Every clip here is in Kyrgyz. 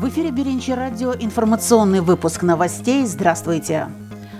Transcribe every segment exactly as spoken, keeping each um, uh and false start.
В эфире Биринчи радио, информационный выпуск новостей. Здравствуйте.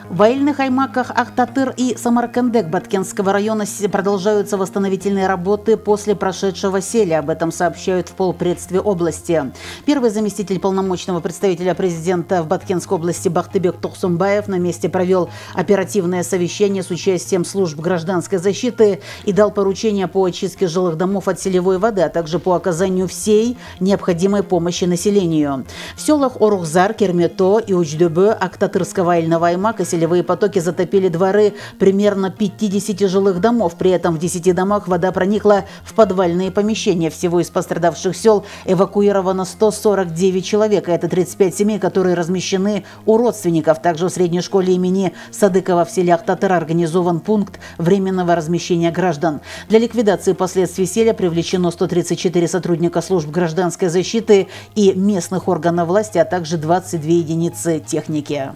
В Айыльных аймаках Ахтатыр и Самаркандек Баткенского района продолжаются восстановительные работы после прошедшего селя. Об этом сообщают в полпредстве области. Первый заместитель полномочного представителя президента в Баткенской области Бактыбек Токсумбаев на месте провел оперативное совещание с участием служб гражданской защиты и дал поручения по очистке жилых домов от селевой воды, а также по оказанию всей необходимой помощи населению. В селах Орухзар, Кермето и Учдебе Ахтатырского Айыльного аймака селевые потоки затопили дворы примерно пятидесяти жилых домов. При этом в десяти домах вода проникла в подвальные помещения. Всего из пострадавших сел эвакуировано сто сорок девять человек. Это тридцать пять семей, которые размещены у родственников. Также в средней школе имени Садыкова в селе Ахтатыр организован пункт временного размещения граждан. Для ликвидации последствий селя привлечено сто тридцать четыре сотрудника служб гражданской защиты и местных органов власти, а также двадцать две единицы техники.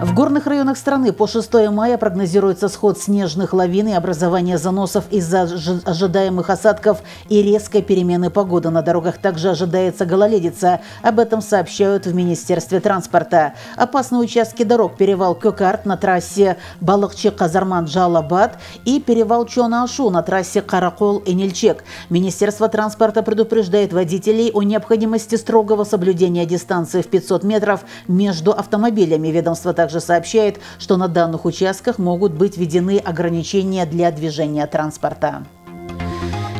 В горных районах страны по шестое мая прогнозируется сход снежных лавин и образование заносов из-за ожидаемых осадков и резкой перемены погоды. На дорогах также ожидается гололедица. Об этом сообщают в Министерстве транспорта. Опасные участки дорог: перевал Кёкарт на трассе Балыкчы-Казарман-Жалабад и перевал Чона-Ашу на трассе Каракол-Энельчек. Министерство транспорта предупреждает водителей о необходимости строгого соблюдения дистанции в пятьсот метров между автомобилями. Ведомство также сообщает, что на данных участках могут быть введены ограничения для движения транспорта.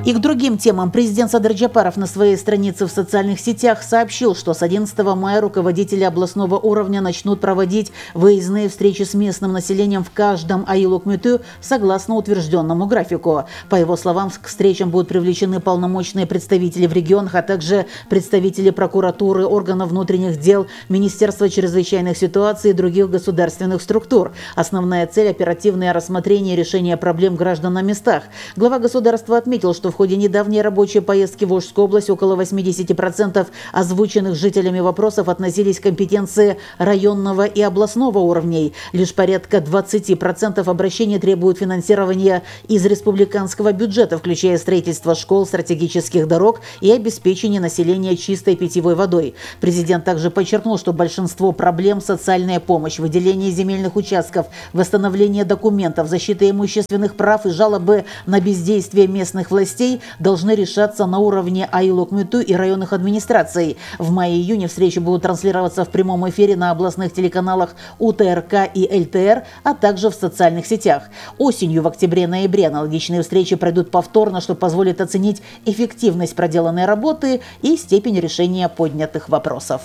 И к другим темам. Президент Садыр Джапаров на своей странице в социальных сетях сообщил, что с одиннадцатого мая руководители областного уровня начнут проводить выездные встречи с местным населением в каждом айыл-өкмөтү согласно утвержденному графику. По его словам, к встречам будут привлечены полномочные представители в регионах, а также представители прокуратуры, органов внутренних дел, Министерства чрезвычайных ситуаций и других государственных структур. Основная цель – оперативное рассмотрение и решение проблем граждан на местах. Глава государства отметил, что в ходе недавней рабочей поездки в Волжскую область около восьмидесяти процентов озвученных жителями вопросов относились к компетенции районного и областного уровней. Лишь порядка двадцати процентов обращений требуют финансирования из республиканского бюджета, включая строительство школ, стратегических дорог и обеспечение населения чистой питьевой водой. Президент также подчеркнул, что большинство проблем – социальная помощь, выделение земельных участков, восстановление документов, защита имущественных прав и жалобы на бездействие местных властей должны решаться на уровне айыл-өкмөтү и районных администраций. В мае-июне встречи будут транслироваться в прямом эфире на областных телеканалах УТРК и ЛТР, а также в социальных сетях. Осенью, в октябре-ноябре аналогичные встречи пройдут повторно, что позволит оценить эффективность проделанной работы и степень решения поднятых вопросов.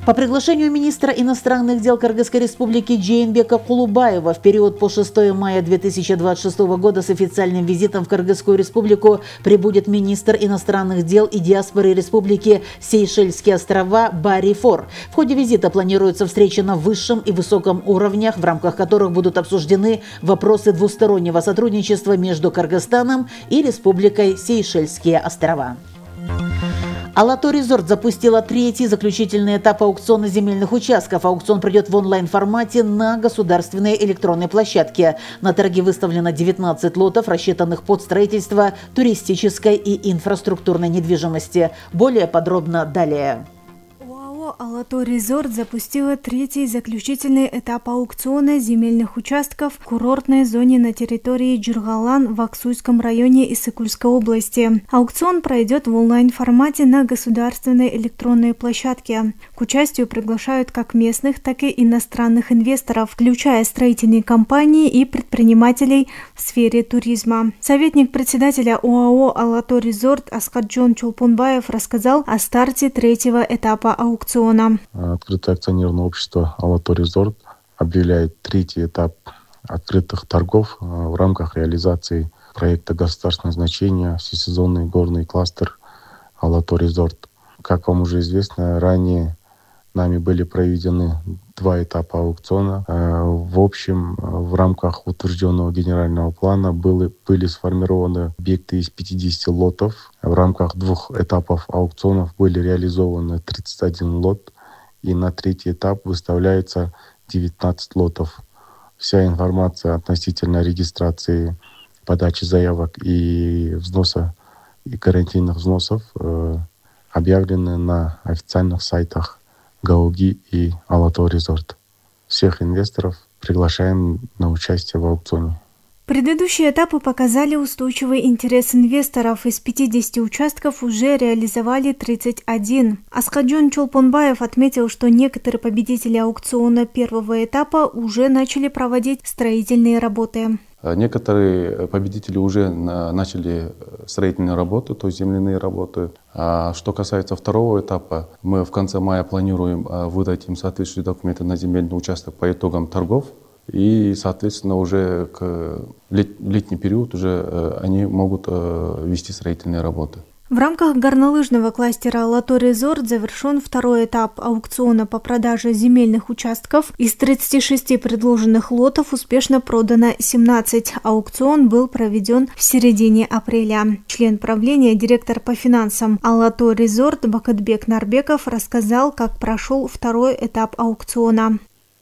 По приглашению министра иностранных дел Кыргызской республики Джейнбека Кулубаева в период по шестое мая две тысячи двадцать шестого года с официальным визитом в Кыргызскую республику прибудет министр иностранных дел и диаспоры республики Сейшельские острова Барри Фор. В ходе визита планируется встреча на высшем и высоком уровнях, в рамках которых будут обсуждены вопросы двустороннего сотрудничества между Кыргызстаном и Республикой Сейшельские острова. Алато Резорт запустила третий заключительный этап аукциона земельных участков. Аукцион пройдет в онлайн-формате на государственной электронной площадке. На торги выставлено девятнадцать лотов, рассчитанных под строительство туристической и инфраструктурной недвижимости. Более подробно далее. Алато Резорт запустила третий заключительный этап аукциона земельных участков в курортной зоне на территории Джургалан в Аксуйском районе Иссыкульской области. Аукцион пройдет в онлайн-формате на государственной электронной площадке. К участию приглашают как местных, так и иностранных инвесторов, включая строительные компании и предпринимателей в сфере туризма. Советник председателя ОАО «Алато Резорт» Аскарджон Чулпунбаев рассказал о старте третьего этапа аукциона. Открытое акционерное общество «Алато Резорт» объявляет третий этап открытых торгов в рамках реализации проекта государственного значения «Всесезонный горный кластер Алато Резорт». Как вам уже известно, ранее нами были проведены два этапа аукциона. В общем, в рамках утвержденного генерального плана были, были сформированы объекты из пятидесяти лотов. В рамках двух этапов аукционов были реализованы тридцать один лот, и на третий этап выставляется девятнадцать лотов. Вся информация относительно регистрации, подачи заявок и взноса, и карантинных взносов объявлены на официальных сайтах Гауги и Алатау Резорт. Всех инвесторов приглашаем на участие в аукционе. Предыдущие этапы показали устойчивый интерес инвесторов. Из пятидесяти участков уже реализовали тридцать один. Аскаджон Чолпонбаев отметил, что некоторые победители аукциона первого этапа уже начали проводить строительные работы. Некоторые победители уже начали строительные работы, то есть земляные работы. А что касается второго этапа, мы в конце мая планируем выдать им соответствующие документы на земельный участок по итогам торгов. И, соответственно, уже к летний период уже они могут вести строительные работы. В рамках горнолыжного кластера «Алатау Резорт» завершен второй этап аукциона по продаже земельных участков. Из тридцати шести предложенных лотов успешно продано семнадцать. Аукцион был проведен в середине апреля. Член правления, директор по финансам «Алатау Резорт» Бакытбек Нарбеков рассказал, как прошел второй этап аукциона.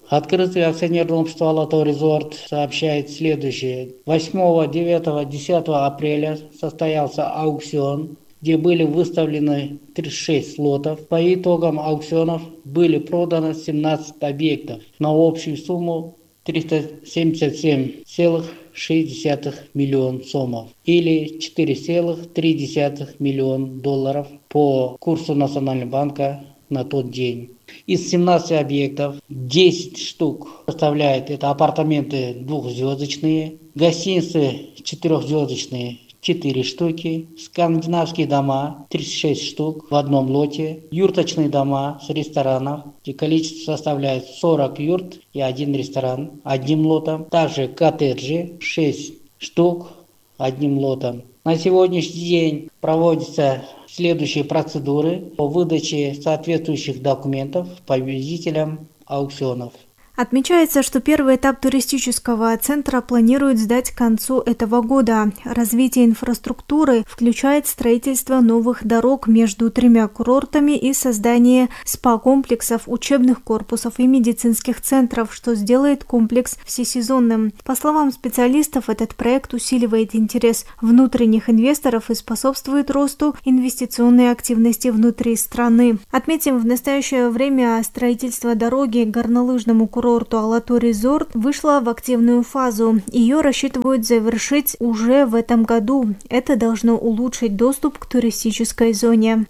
Открытое акционерное общество «Алатау Резорт» сообщает следующее. восьмого, девятого, десятого апреля состоялся аукцион, где были выставлены тридцать шесть лотов. По итогам аукционов были проданы семнадцать объектов на общую сумму триста семьдесят семь целых шесть десятых миллиона сомов или четыре целых три десятых миллиона долларов по курсу Национального банка на тот день. Из семнадцати объектов десять штук составляет это апартаменты двухзвездочные, гостиницы четырехзвездочные четыре штуки, скандинавские дома тридцать шесть штук в одном лоте, юрточные дома с ресторанов, где количество составляет сорок юрт и один ресторан одним лотом, также коттеджи шесть штук одним лотом. На сегодняшний день проводятся следующие процедуры по выдаче соответствующих документов победителям аукционов. Отмечается, что первый этап туристического центра планируют сдать к концу этого года. Развитие инфраструктуры включает строительство новых дорог между тремя курортами и создание спа-комплексов, учебных корпусов и медицинских центров, что сделает комплекс всесезонным. По словам специалистов, этот проект усиливает интерес внутренних инвесторов и способствует росту инвестиционной активности внутри страны. Отметим, в настоящее время строительство дороги к горнолыжному курорту «Алатау Резорт» вышла в активную фазу. Ее рассчитывают завершить уже в этом году. Это должно улучшить доступ к туристической зоне.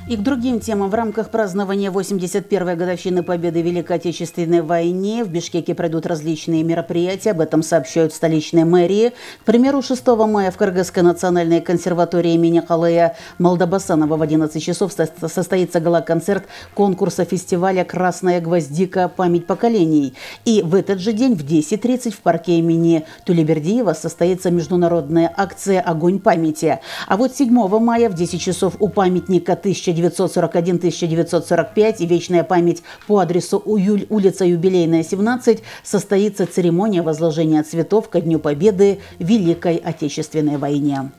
И к другим темам. В рамках празднования восемьдесят первой годовщины победы в Великой Отечественной войне в Бишкеке пройдут различные мероприятия. Об этом сообщают в столичной мэрии. К примеру, шестого мая в Кыргызской национальной консерватории имени Калая Молдобасанова в одиннадцать часов состоится гала-концерт конкурса фестиваля «Красная гвоздика. Память поколений». И в этот же день в десять тридцать в парке имени Тулебердиева состоится международная акция «Огонь памяти». А вот седьмого мая в десять часов у памятника тысяча девятьсот сорок один — тысяча девятьсот сорок пять и «Вечная память» по адресу Уюль, улица Юбилейная, семнадцать состоится церемония возложения цветов ко Дню Победы в Великой Отечественной войне.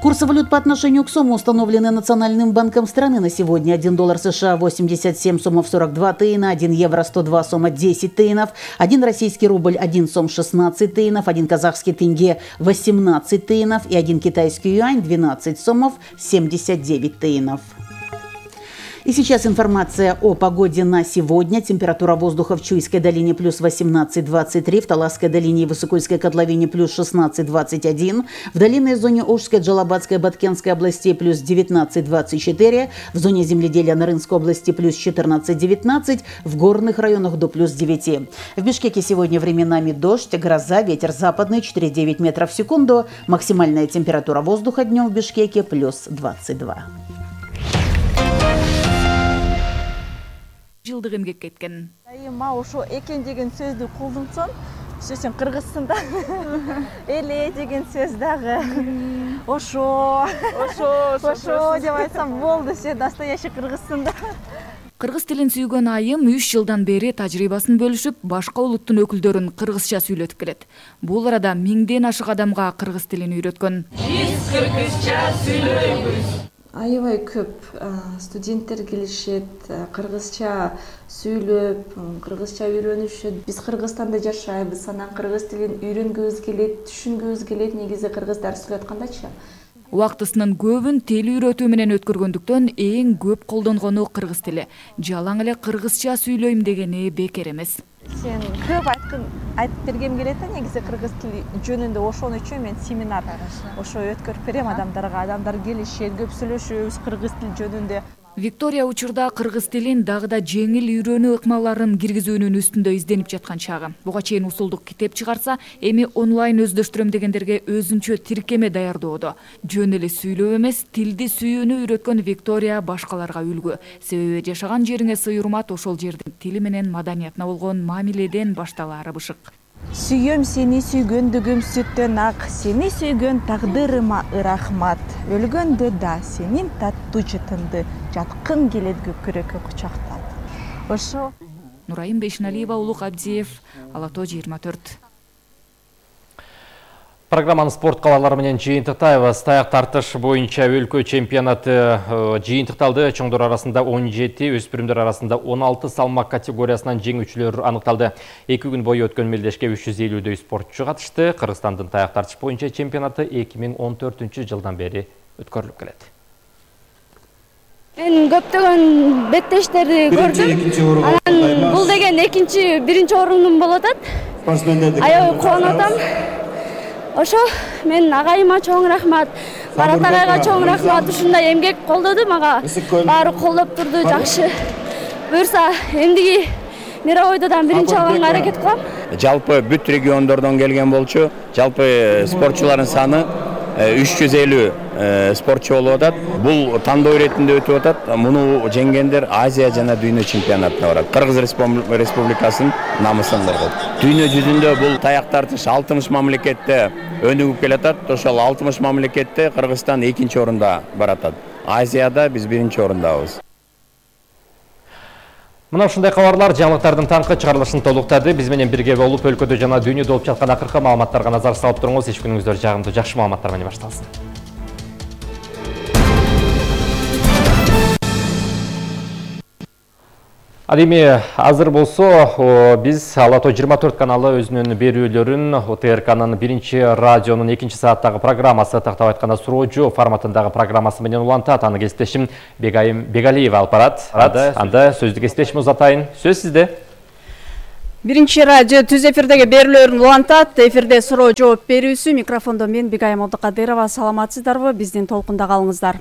Курсы валют по отношению к сому установлены Национальным банком страны на сегодня. один доллар США восемьдесят семь сомов сорок два тыйна, один евро сто два сома десять тыйнов, один российский рубль один сом шестнадцать тыйнов, один казахский тенге восемнадцать тыйнов и один китайский юань двенадцать сомов семьдесят девять тыйнов. И сейчас информация о погоде на сегодня. Температура воздуха в Чуйской долине плюс восемнадцать — двадцать три, в Таласской долине и Высокольской котловине плюс шестнадцать — двадцать один, в долинной зоне Ошской, Джалабадской, Баткенской областей плюс девятнадцать — двадцать четыре, в зоне земледелия Нарынской области плюс четырнадцать — девятнадцать, в горных районах до плюс девять. В Бишкеке сегодня временами дождь, гроза, ветер западный четыре — девять метров в секунду. Максимальная температура воздуха днем в Бишкеке плюс двадцать два. Жылдык эмгек кеткен. Айыма ошо экен деген сөздү колдонсоң, сен кыргызсың да. Эле деген сөз дагы. Ошо, ошо, ошо деп айтсам болду, сен настоящий кыргызсың да. Кыргыз тилин сүйгөн айым үч жылдан бери тажрыйбасын бөлүшүп, башка улуттун өкүлдөрүн кыргызча сүйлөтүп келет. Бул арада миңден ашык адамга кыргыз тилин үйрөткөн. Биз кыргызча сүйлөйбүз. Аябай көп студенттер келишет, кыргызча сүйлөп, кыргызча үйрөнүшөт. Биз Кыргызстанда жашайбыз, анан кыргыз тилин үйрөнгүбүз келет, түшүнгүбүз келет. Негизи кыргыздар сүйлөп аткандачы. Убактысынын көбүн тил үйрөтүү менен өткөргөндүктөн эң көп колдонгону кыргыз тили. Жалаң эле кыргызча сүйлөйм дегени бекер эмес. Сен көп айткын айтып бергем келет да, негизи кыргыз тили жөнүндө ошон үчүн мен семинар ошо өткөрүп берем адамдарга. Адамдар келишет, көп сүйлөшөбүз кыргыз тили жөнүндө. Виктория учурда кыргыз тилин дагы да жеңил үйрөнүү ыкмаларын киргизүүнүн үстүндө изденип жаткан чагы. Буга чейин усулдук китеп чыгарса, эми онлайн өздөштүрөм дегендерге өзүнчө тиркеме даярдоодо. Жөн эле сүйлөө эмес, тилди сүйүүнү үйрөткөн Виктория башкаларга үлгү. Себеби жашаган жериңе сый урмат ошол жердин тили менен маданиятына болгон мамиледен башталаары бышык. Сүйөм сени сүйгөндүгүм сүттөн ак, сени сүйгөн тагдырыма ырахмат. Өлгөндө да сенин таттуу жытыңды жаткын келет көкүрөккө кучактап. Ошо Нурайым Бейшиналиева, Улук Абдиев, Ала Тоо жыйырма төрт. Программаны спорт кабарлары менен жыйынтыктайбыз. Таяк тартыш боюнча өлкө чемпионаты жыйынтыкталды. Чоңдор арасында он жети, өспүрүмдөр арасында он алты салмак категориясынан жеңүүчүлөр аныкталды. Эки күн бою өткөн мелдешке үч жүз элүүдөй спортчу катышты. Кыргызстандын таяк тартыш боюнча чемпионаты эки миң он төртүнчү жылдан бери өткөрүлүп келет. Мен көптөгөн беттештерди көрдүм. Анан бул деген экинчи, биринчи орундум болуп атат. Аябай кубанып атам. Ошо мен агайыма чоң рахмат, Барат агайга чоң рахмат. Ушундай эмгек колдоду мага. Баары колдоп турду, жакшы. Буюрса, эмдиги мировойдодан биринчи алганга аракет кылам. Жалпы бүт региондордон келген болчу. Жалпы спортчулардын саны үч жүз элүү спортчу болуп атат. Бул тандоо иретинде өтүп атат. Муну жеңгендер Азия жана дүйнө чемпионатына барат. Кыргыз Республикасынын намысын коргоп. Дүйнө жүзүндө бул таяк тартыш алтымыш мамлекетте өнүгүп келатат. Ошол алтымыш мамлекетте Кыргызстан экинчи орунда баратат. Азияда биз биринчи орундабыз. Мына ушундай кабарлар жаңылыктардын таңкы чыгарылышын толуктады. Биз менен бирге болуп өлкөдө жана дүйнөдө болуп жаткан акыркы маалыматтарга назар салып туруңуз. Иш күнүңүздөр жагымдуу, жакшы маалыматтар менен башталсын. Ал эми азыр болсо биз Ала Тоо жыйырма төрт каналы өзүнүн берүүлөрүн Т Р К'нын биринчи радионун экинчи сааттагы программасы, тактап айтканда суроо жооп форматындагы программасы менен улантат. Аны кесиптешим Бегайым Бегалиева алып барат. Анда сөздү кесиптешим узатайын. Сөз сизде. Биринчи радио түз эфирдеги берүүлөрүн улантат. Эфирде суроо жооп берүүсү. Микрофондо мен Бегайым Абдыкадырова. Саламатсыздарбы? Биздин толкунда калыңыздар.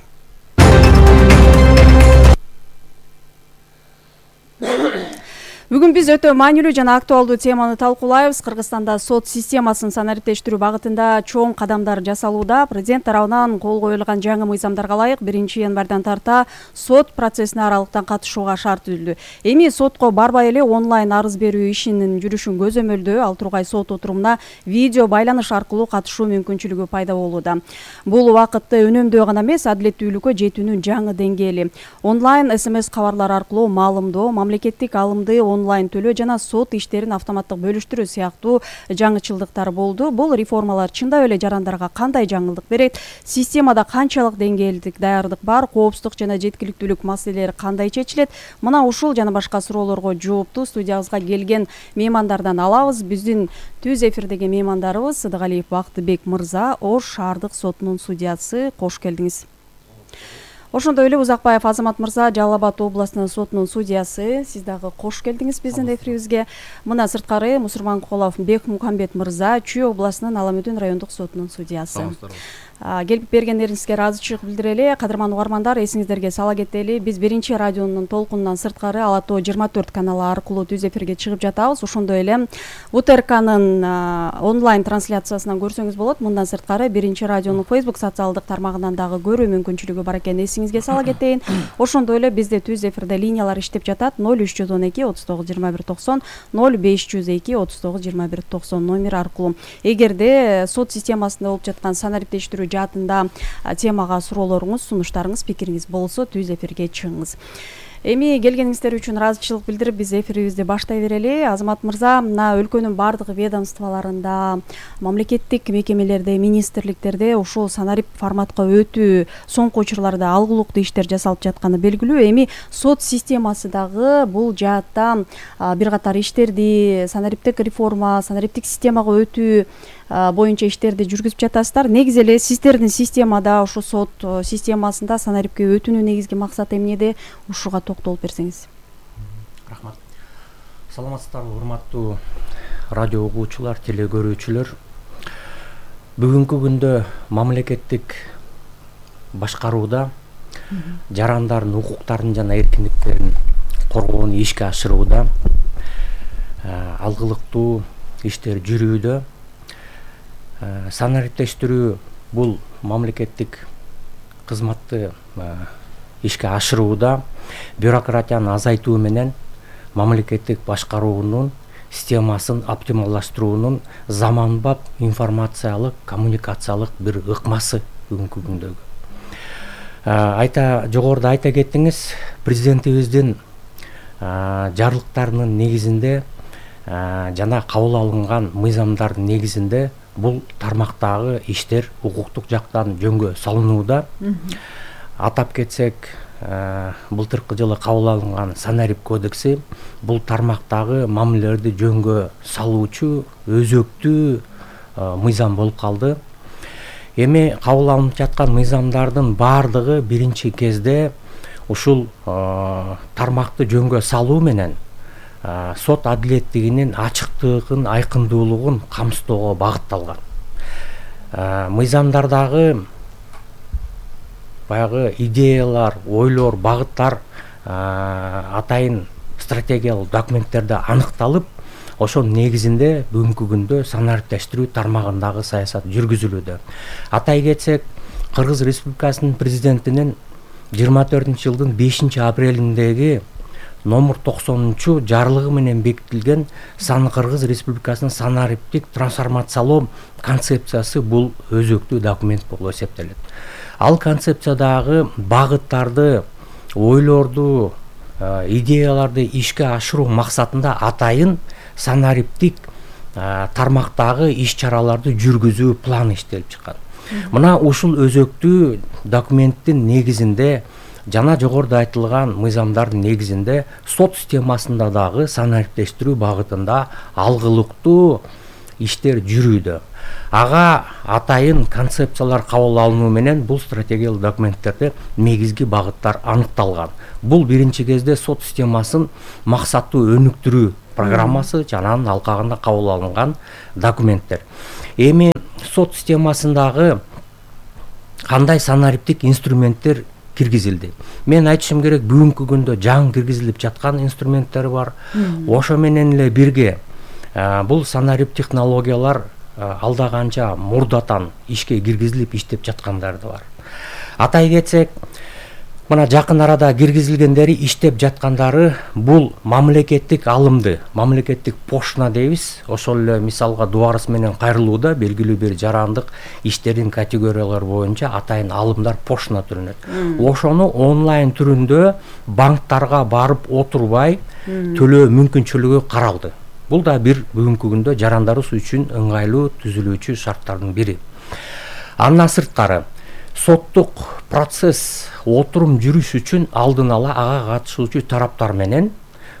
Бүгүн биз өтө маанилүү жана актуалдуу теманы талкуулайбыз. Кыргызстанда сот системасын санариптештирүү багытында чоң кадамдар жасалууда. Президент тарабынан кол коюлган жаңы мыйзамдарга ылайык биринчи январдан тарта сот процессине аралыктан катышууга шарт түзүлдү. Эми сотко барбай эле онлайн арыз берүү ишинин жүрүшүн көзөмөлдөө, ал тургай сот отурумуна видео байланыш аркылуу катышуу мүмкүнчүлүгү пайда болууда. Бул убакытты үнөмдөө гана эмес, адилеттүүлүккө жетүүнүн жаңы деңгээли. Онлайн эс эм эс кабарлар аркылуу маалымдоо, мамлекеттик алымды онлайн төлөө жана сот иштерин автоматтык бөлүштүрүү сыяктуу жаңычылдыктар болду. Бул реформалар чындап эле жарандарга кандай жаңылдык берет? Системада канчалык деңгээлдик даярдык бар? Коопсуздук жана жеткиликтүүлүк маселелери кандай чечилет? Мына ушул жана башка суроолорго жоопту студиябызга келген меймандардан алабыз. Биздин түз эфирдеги меймандарыбыз Сыдыгалиев Бактыбек мырза, Ош шаардык сотунун судьясы. Кош келдиңиз. Ошондой эле Узакбаев Азамат мырза, Жалал Абад областынын сотунун судьясы. Сиз дагы кош келдиңиз биздин эфирибизге. Мына сырткары Мусурманкулов Бекмухамбет мырза, Чүй областынын Аламүдүн райондук сотунун судьясы. Келип бергендериңизге ыраазычылык билдирели. Кадырман угармандар, эсиңиздерге сала кетели, биз биринчи радионун толкунунан сырткары Ала Тоо жыйырма төрт каналы аркылуу түз эфирге чыгып жатабыз. Ошондой эле У Т Р К'нын онлайн трансляциясынан көрсөңүз болот. Мындан сырткары биринчи радионун Facebook социалдык тармагынан дагы көрүү мүмкүнчүлүгү бар экенин эсиңизге сала кетейин. Ошондой эле бизде түз эфирде линиялар иштеп жатат. ноль үч жүз он эки отуз тогуз жыйырма бир токсон, ноль беш жүз эки отуз тогуз жыйырма бир токсон номер аркылуу. Эгерде сот системасында болуп жаткан санариптештирүү жаатында темага суроолоруңуз, сунуштарыңыз, пикириңиз болсо түз эфирге чыгыңыз. Эми келгениңиздер үчүн ыраазычылык билдирип, биз эфирибизди баштай берели. Азамат мырза, мына өлкөнүн бардык ведомстволорунда, мамлекеттик мекемелерде, министрликтерде ушул санарип форматка өтүү, соңку учурларда алгылыктуу иштер жасалып жатканы белгилүү. Эми сот системасы дагы бул жаатта бир катар иштерди, санариптик реформа, санариптик системага өтүү боюнча иштерди жүргүзүп жатасыздар. Негизи эле сиздердин системада, ушу сот системасында санарипке өтүүнүн негизги максаты эмнеде? Ушуга токтолуп берсеңиз. Рахмат. Саламатсыздарбы, урматтуу радио угуучулар, теле көрүүчүлөр. Бүгүнкү күндө мамлекеттик башкарууда жарандардын укуктарын жана эркиндиктерин коргоону ишке ашырууда алгылыктуу иштер жүрүүдө. Санариптештирүү бул мамлекеттик кызматты ишке ашырууда бюрократияны азайтуу менен мамлекеттик башкаруунун системасын оптималдаштыруунун заманбап информациялык, коммуникациялык бир ыкмасы бүгүнкү күндөгү. Айта жогоруда айта кеттиңиз, президентибиздин жарлыктарынын негизинде жана кабыл алынган мыйзамдардын негизинде бул тармактагы иштер укуктук жактан жөнгө салынууда. Атап кетсек, былтыркы жылы кабыл алынган Санарип кодекси бул тармактагы мамилелерди жөнгө салуучу өзөктүү мыйзам болуп калды. Эми кабыл алынып жаткан мыйзамдардын баардыгы биринчи кезде ушул тармакты жөнгө салуу менен сот адилеттигинин ачыктыгын, айкындуулугун камсыздоого багытталган. Мыйзамдардагы баягы идеялар, ойлор, багыттар атайын стратегиялык документтерде аныкталып, ошонун негизинде бүгүнкү күндө санариптештирүү тармагындагы саясат жүргүзүлүүдө. Атай кетсек, Кыргыз Республикасынын президентинин жыйырма төртүнчү жылдын бешинчи апрелиндеги номер токсонунчу жарлыгы менен бекитилген Кыргыз Республикасынын санариптик трансформациялоо концепциясы бул өзөктүү документ болуп эсептелет. Ал концепциядагы багыттарды, ойлорду, идеяларды ишке ашыруу максатында атайын санариптик тармактагы иш-чараларды жүргүзүү планы иштелип чыккан. Мына ушул өзөктүү документтин негизинде жана жогоруда айтылган мыйзамдардын негизинде сот системасында дагы санариптештирүү багытында алгылыктуу иштер жүрүүдө. Ага атайын концепциялар кабыл алынуу менен бул стратегиялык документтерде негизги багыттар аныкталган. Бул биринчи кезде сот системасын максаттуу өнүктүрүү программасы жана анын алкагында кабыл алынган документтер. Эми сот системасындагы кандай санариптик инструменттер киргизилди? Мен айтышым керек, бүгүнкү күндө жаңы киргизилип жаткан инструменттер бар. Ошо менен эле бирге бул санарип технологиялар алда канча мурдатан ишке киргизилип иштеп жаткандары да бар. Атай кетсек, мына жакын арада киргизилгендери, иштеп жаткандары бул мамлекеттик алымды, мамлекеттик пошна дейбиз. Ошол эле мисалга дубарыс менен кайрылууда белгилүү бир жарандык иштердин категориялары боюнча атайын алымдар пошна түрүнөт. Ошону онлайн түрүндө банктарга барып отурбай төлөө мүмкүнчүлүгү каралды. Бул да бир бүгүнкү күндө жарандарыбыз үчүн ыңгайлуу түзүлүүчү шарттардын бири. Андан сырткары соттук процесс отурум жүрүш үчүн алдын ала ага катышуучу тараптар менен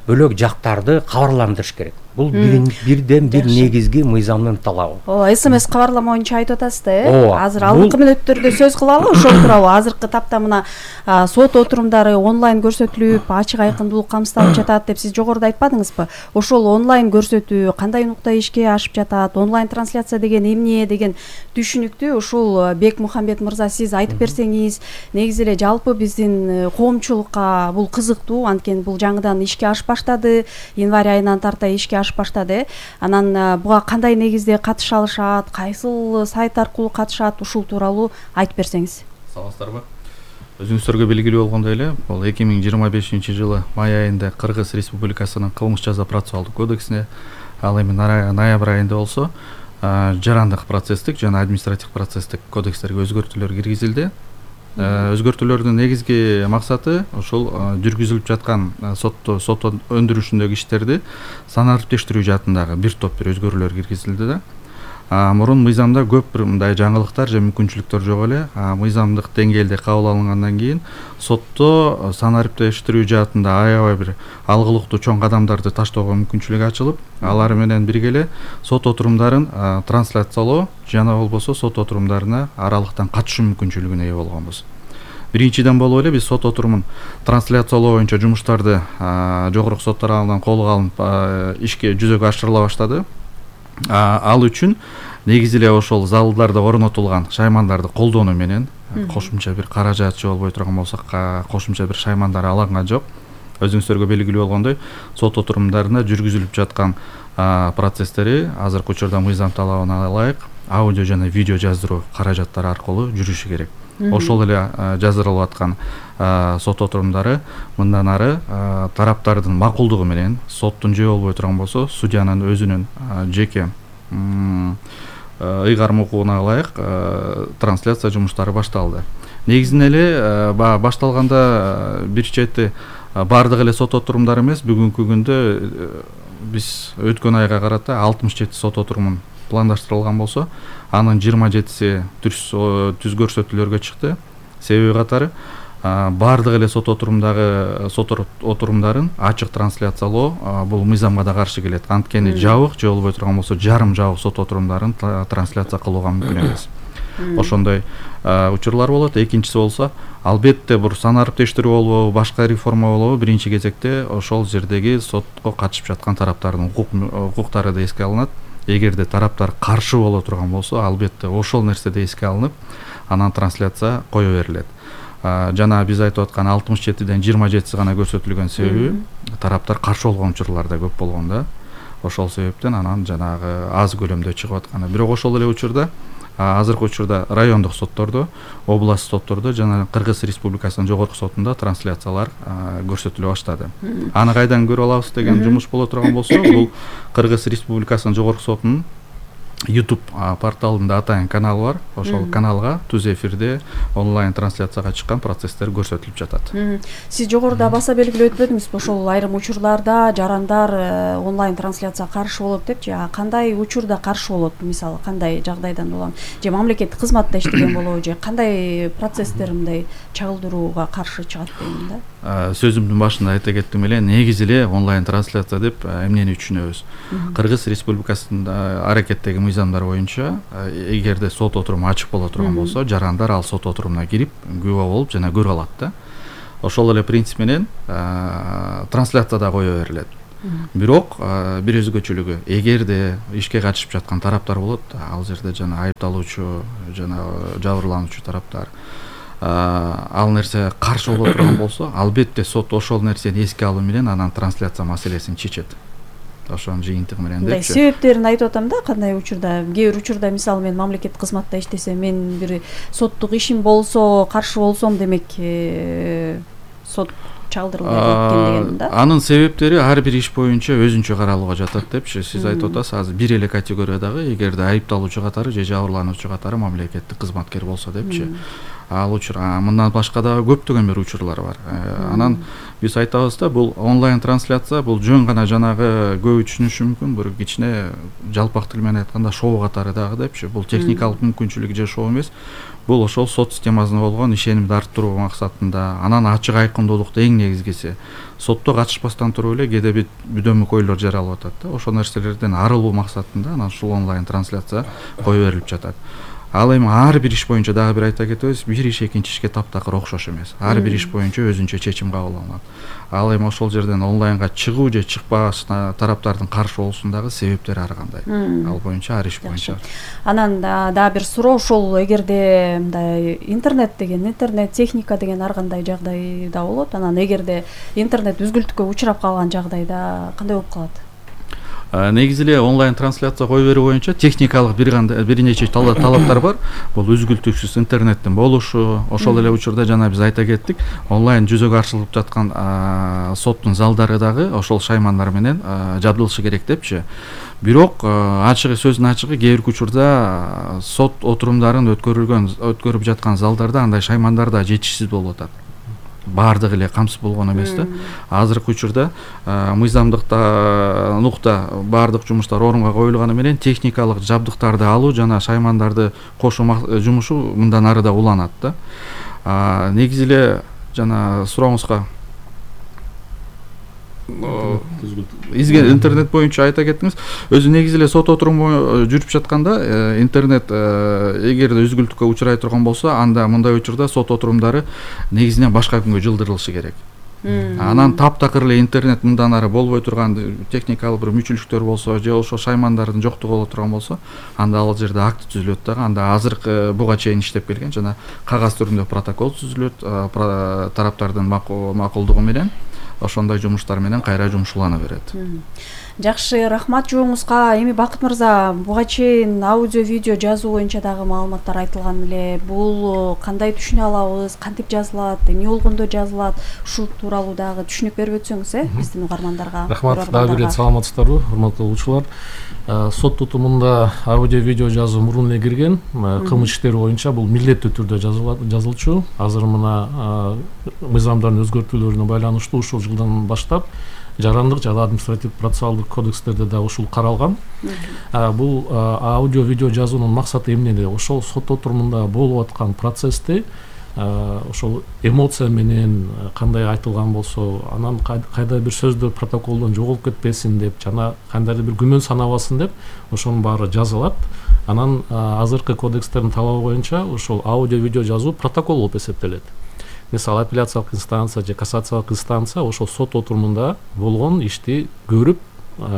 бөлөк жактарды кабарландырыш керек. Бул бирден бир негизги мыйзамдын талабы. Ооба, СМС кабарлама боюнча айтып атасыз да, э? Азыр алдыңкы мүнөттөрдө сөз кылалы, ошол тууралуу. Азыркы тапта мына сот отурумдары онлайн көрсөтүлүп, ачык айкындуулук камсыздалып жатат деп сиз жогоруда айтпадыңызбы? Ошол онлайн көрсөтүү кандай нукта ишке ашып жатат? Онлайн трансляция деген эмне деген түшүнүктү ушул Бек Мухамбет мырза сиз айтып берсеңиз, негизи эле жалпы биздин коомчулукка бул кызыктуу, анткени бул жаңыдан ишке ашып баштады, январь айынан тарта ишке ашып баштады. Анан буга кандай негизде катыша алышат, кайсыл сайт аркылуу катышат, ушул тууралуу айтып берсеңиз. Саламатсыздарбы? Өзүңүздөргө белгилүү болгондой эле, бул эки миң жыйырма бешинчи жылы май айында Кыргыз Республикасынын кылмыш жаза процессуалдык кодексине, ал эми ноябрь айында болсо жарандык процесстик жана административдик процесстик кодекстерге өзгөртүүлөр киргизилди. Өзгөртүүлөрдүн негизги максаты ушул жүргүзүлүп жаткан сотто сот өндүрүшүндөгү иштерди санариптештирүү жаатындагы бир топ бир өзгөрүүлөр киргизилди да. Мурун мыйзамда көп бир мындай жаңылыктар же мүмкүнчүлүктөр жок эле. Мыйзамдык деңгээлде кабыл алынгандан кийин сотто санариптештирүү жаатында аябай бир алгылыктуу чоң кадамдарды таштоого мүмкүнчүлүк ачылып, алар менен бирге эле сот отурумдарын трансляциялоо жана болбосо сот отурумдарына аралыктан катышуу мүмкүнчүлүгүнө ээ болгонбуз. Биринчиден болуп эле биз сот отурумун трансляциялоо боюнча жумуштарды жогорку сот тарабынан колго алынып ишке жүзөгө ашырыла баштады. Ал үчүн негизи эле ошол залдарда орнотулган шаймандарды колдонуу менен кошумча бир каражат же болбой турган болсо кошумча бир шаймандар алынган жок. Өзүңүздөргө белгилүү болгондой, сот отурумдарында жүргүзүлүп жаткан процесстери азыркы учурда мыйзам талабына ылайык аудио жана видео жаздыруу каражаттары аркылуу жүрүшү керек. Ошол эле жаздырылып аткан сот отурумдары мындан ары тараптардын макулдугу менен соттун же болбой турган болсо судьянын өзүнүн жеке ыйгарым укугуна ылайык трансляция жумуштары башталды. Негизинен эле башталганда бир чети баардык эле сот отурумдары эмес, бүгүнкү күндө биз өткөн айга карата алтымыш жети сот отурумун пландаштырылган болсо, анын жыйырма жетиси түз көрсөтүүлөргө чыкты. Себеби катары баардык эле сот отурумдагы сот отурумдарын ачык трансляциялоо бул мыйзамга да каршы келет. Анткени жабык же болбой турган болсо жарым жабык сот отурумдарын трансляция кылууга мүмкүн эмес. Ошондой учурлар болот. Экинчиси болсо, албетте бир санариптештирүү болобу, башка реформа болобу, биринчи кезекте ошол жердеги сотко катышып жаткан тараптардын укуктары да эске алынат. Эгерде тараптар каршы боло турган болсо, албетте ошол нерсе да эске алынып, анан трансляция кое берилет. Жана биз айтып аткан алтымыш жетиден жыйырма жетиси гана көрсөтүлгөн себеби тараптар каршы болгон учурлар да көп болгон да. Ошол себептен анан жанагы аз көлөмдө чыгып атканы. Бирок ошол эле учурда азыркы учурда райондук соттордо, область соттордо жана Кыргыз Республикасынын жогорку сотунда трансляциялар көрсөтүлө баштады. Аны кайдан көрүп алабыз деген жумуш боло турган болсо, бул Кыргыз Республикасынын жогорку сотунун YouTube порталында атайын канал бар. Ошол каналга түз эфирде онлайн трансляцияга чыккан процесстер көрсөтүлүп жатат. Сиз жогоруда баса белгилеп өтпөдүңүзбү? Ошол айрым учурларда жарандар онлайн трансляцияга каршы болот депчи. Кандай учурда каршы болот? Мисалы, кандай жагдайдан улам? Же мамлекеттик кызматта иштеген болобу, же кандай процесстер мындай чагылдырууга каршы чыгат дейм да? Сөзүмдүн башында айта кеттим эле, негизи эле онлайн трансляция деп эмнени түшүнөбүз? Кыргыз Республикасында аракеттеги мыйзамдар боюнча, эгерде сот отуруму ачык боло турган болсо, жарандар ал сот отурумуна кирип, күбө болуп жана көрө алат да. Ошол эле принцип менен трансляция да кое берилет. Бирок бир өзгөчөлүгү, эгерде ишке катышып жаткан тараптар болот, ал жерде жана айыпталуучу жана жабырлануучу тараптар ал нерсе каршы боло турган болсо, албетте сот ошол нерсени эске алуу менен анан трансляция маселесин чечет. Ошонун жыйынтыгы менен депчи. Себептерин айтып атам да, кандай учурда, кээ бир учурда мисалы мен мамлекеттик кызматта иштесем, мен бир соттук ишим болсо, каршы болсом, демек сот чалдырылбай экен деген да. Анын себептери ар бир иш боюнча өзүнчө каралууга жатат депчи. Сиз айтып атасыз, азыр бир эле категориядагы, эгерде айыпталуучу катары же жабырлануучу катары мамлекеттик кызматкер болсо депчи. Ал учур, мындан башка да көптөгөн бир учурлар бар. Анан биз айтабыз да, бул онлайн трансляция, бул жөн гана жанагы көбү түшүнүшү мүмкүн, бир кичине жалпак тил менен айтканда шоу катары дагы депчи. Бул техникалык мүмкүнчүлүк же шоу эмес. Бул ошол сот системасына болгон ишенимди арттыруу максатында, анан ачык айкындуулукту эң негизгиси. Сотто катышпастан туруп эле кээде бир бүдөмүк ойлор жаралып атат да. Ошол нерселерден арылуу максатында анан ушул онлайн трансляция кое берилип жатат. Ал эми ар бир иш боюнча дагы бир айта кетебиз, бир иш экинчи ишке таптакыр окшош эмес. Ар бир иш боюнча өзүнчө чечим кабыл алынат. Ал эми ошол жерден онлайнга чыгуу же чыкпашына тараптардын каршы болушундагы себептери ар кандай. Ал боюнча ар иш боюнча. Анан дагы бир суроо, ошол эгерде мындай интернет деген, интернет техника деген ар кандай жагдайда болот. Анан эгерде интернет үзгүлтүккө учурап калган жагдайда кандай болуп калат? Негизи эле онлайн трансляция кое берүү боюнча техникалык бир кандай бир нече талаптар бар. Бул үзгүлтүксүз интернеттин болушу, ошол эле учурда жана биз айта кеттик, онлайн жүзөгө ашырылып жаткан соттун залдары дагы ошол шаймандар менен жабдылышы керек депчи. Бирок ачыгы сөздүн ачыгы, кээ бир учурда сот отурумдарын өткөрүлгөн өткөрүп жаткан залдарда андай шаймандар да жетишсиз болуп атат. баардыгы эле камсыз болгон эмес да. Азыркы учурда мыйзамдыкта нукта баардык жумуштар орунга коюлганы менен техникалык жабдыктарды алуу жана шаймандарды кошуу жумушу мындан ары да уланат да. Негизи эле жана сурооңузга изге интернет боюнча айта кеттиңиз. Өзү негизи эле сот отуруму жүрүп жатканда интернет эгерде үзгүлтүккө учурай турган болсо, анда мындай учурда сот отурумдары негизинен башка күнгө жылдырылышы керек. Анан таптакыр эле интернет мындан ары болбой турган техникалык бир мүчүлүктөр болсо же ошо шаймандардын жоктугу боло турган болсо, анда ал жерде акт түзүлөт дагы. Анда азыркы буга чейин иштеп келген жана кагаз түрүндө протокол түзүлөт, тараптардын макулдугу менен ошондой жумуштар менен кайра жумушулана берет. Жакшы, рахмат жооңузга. Эми Бакыт мырза, буга чейин аудио видео жазуу боюнча дагы маалыматтар айтылган эле. Бул кандай түшүнө алабыз, кантип жазылат, эмне болгондо жазылат, ушул тууралуу дагы түшүнүк берип өтсөңүз, э, биздин угармандарга. Рахмат, дагы бир саламатсыздарбы, урматтуу угуучулар. Сот тутумунда аудио видео жазуу мурун эле кирген, кылмыш иштери боюнча бул милдеттүү түрдө жазылчу. Азыр мына мыйзамдардын өзгөртүүлөрүнө байланыштуу ушул жылдан баштап жарандык жана административдик процессуалдык кодекстерде да ушул каралган. Бул аудио видео жазуунун максаты эмнеде? Ошол сот отурумунда болуп аткан процессти ошол эмоция менен кандай айтылган болсо, анан кайда бир сөздөр протоколдон жоголуп кетпесин деп жана кандайдыр бир күмөн санабасын деп ошонун баары жазылат. Анан азыркы кодекстердин талабы боюнча ошол аудио видео жазуу протокол болуп эсептелет. Мисалы апелляциялык инстанция же кассациялык инстанция ошол сот отурумунда болгон ишти көрүп,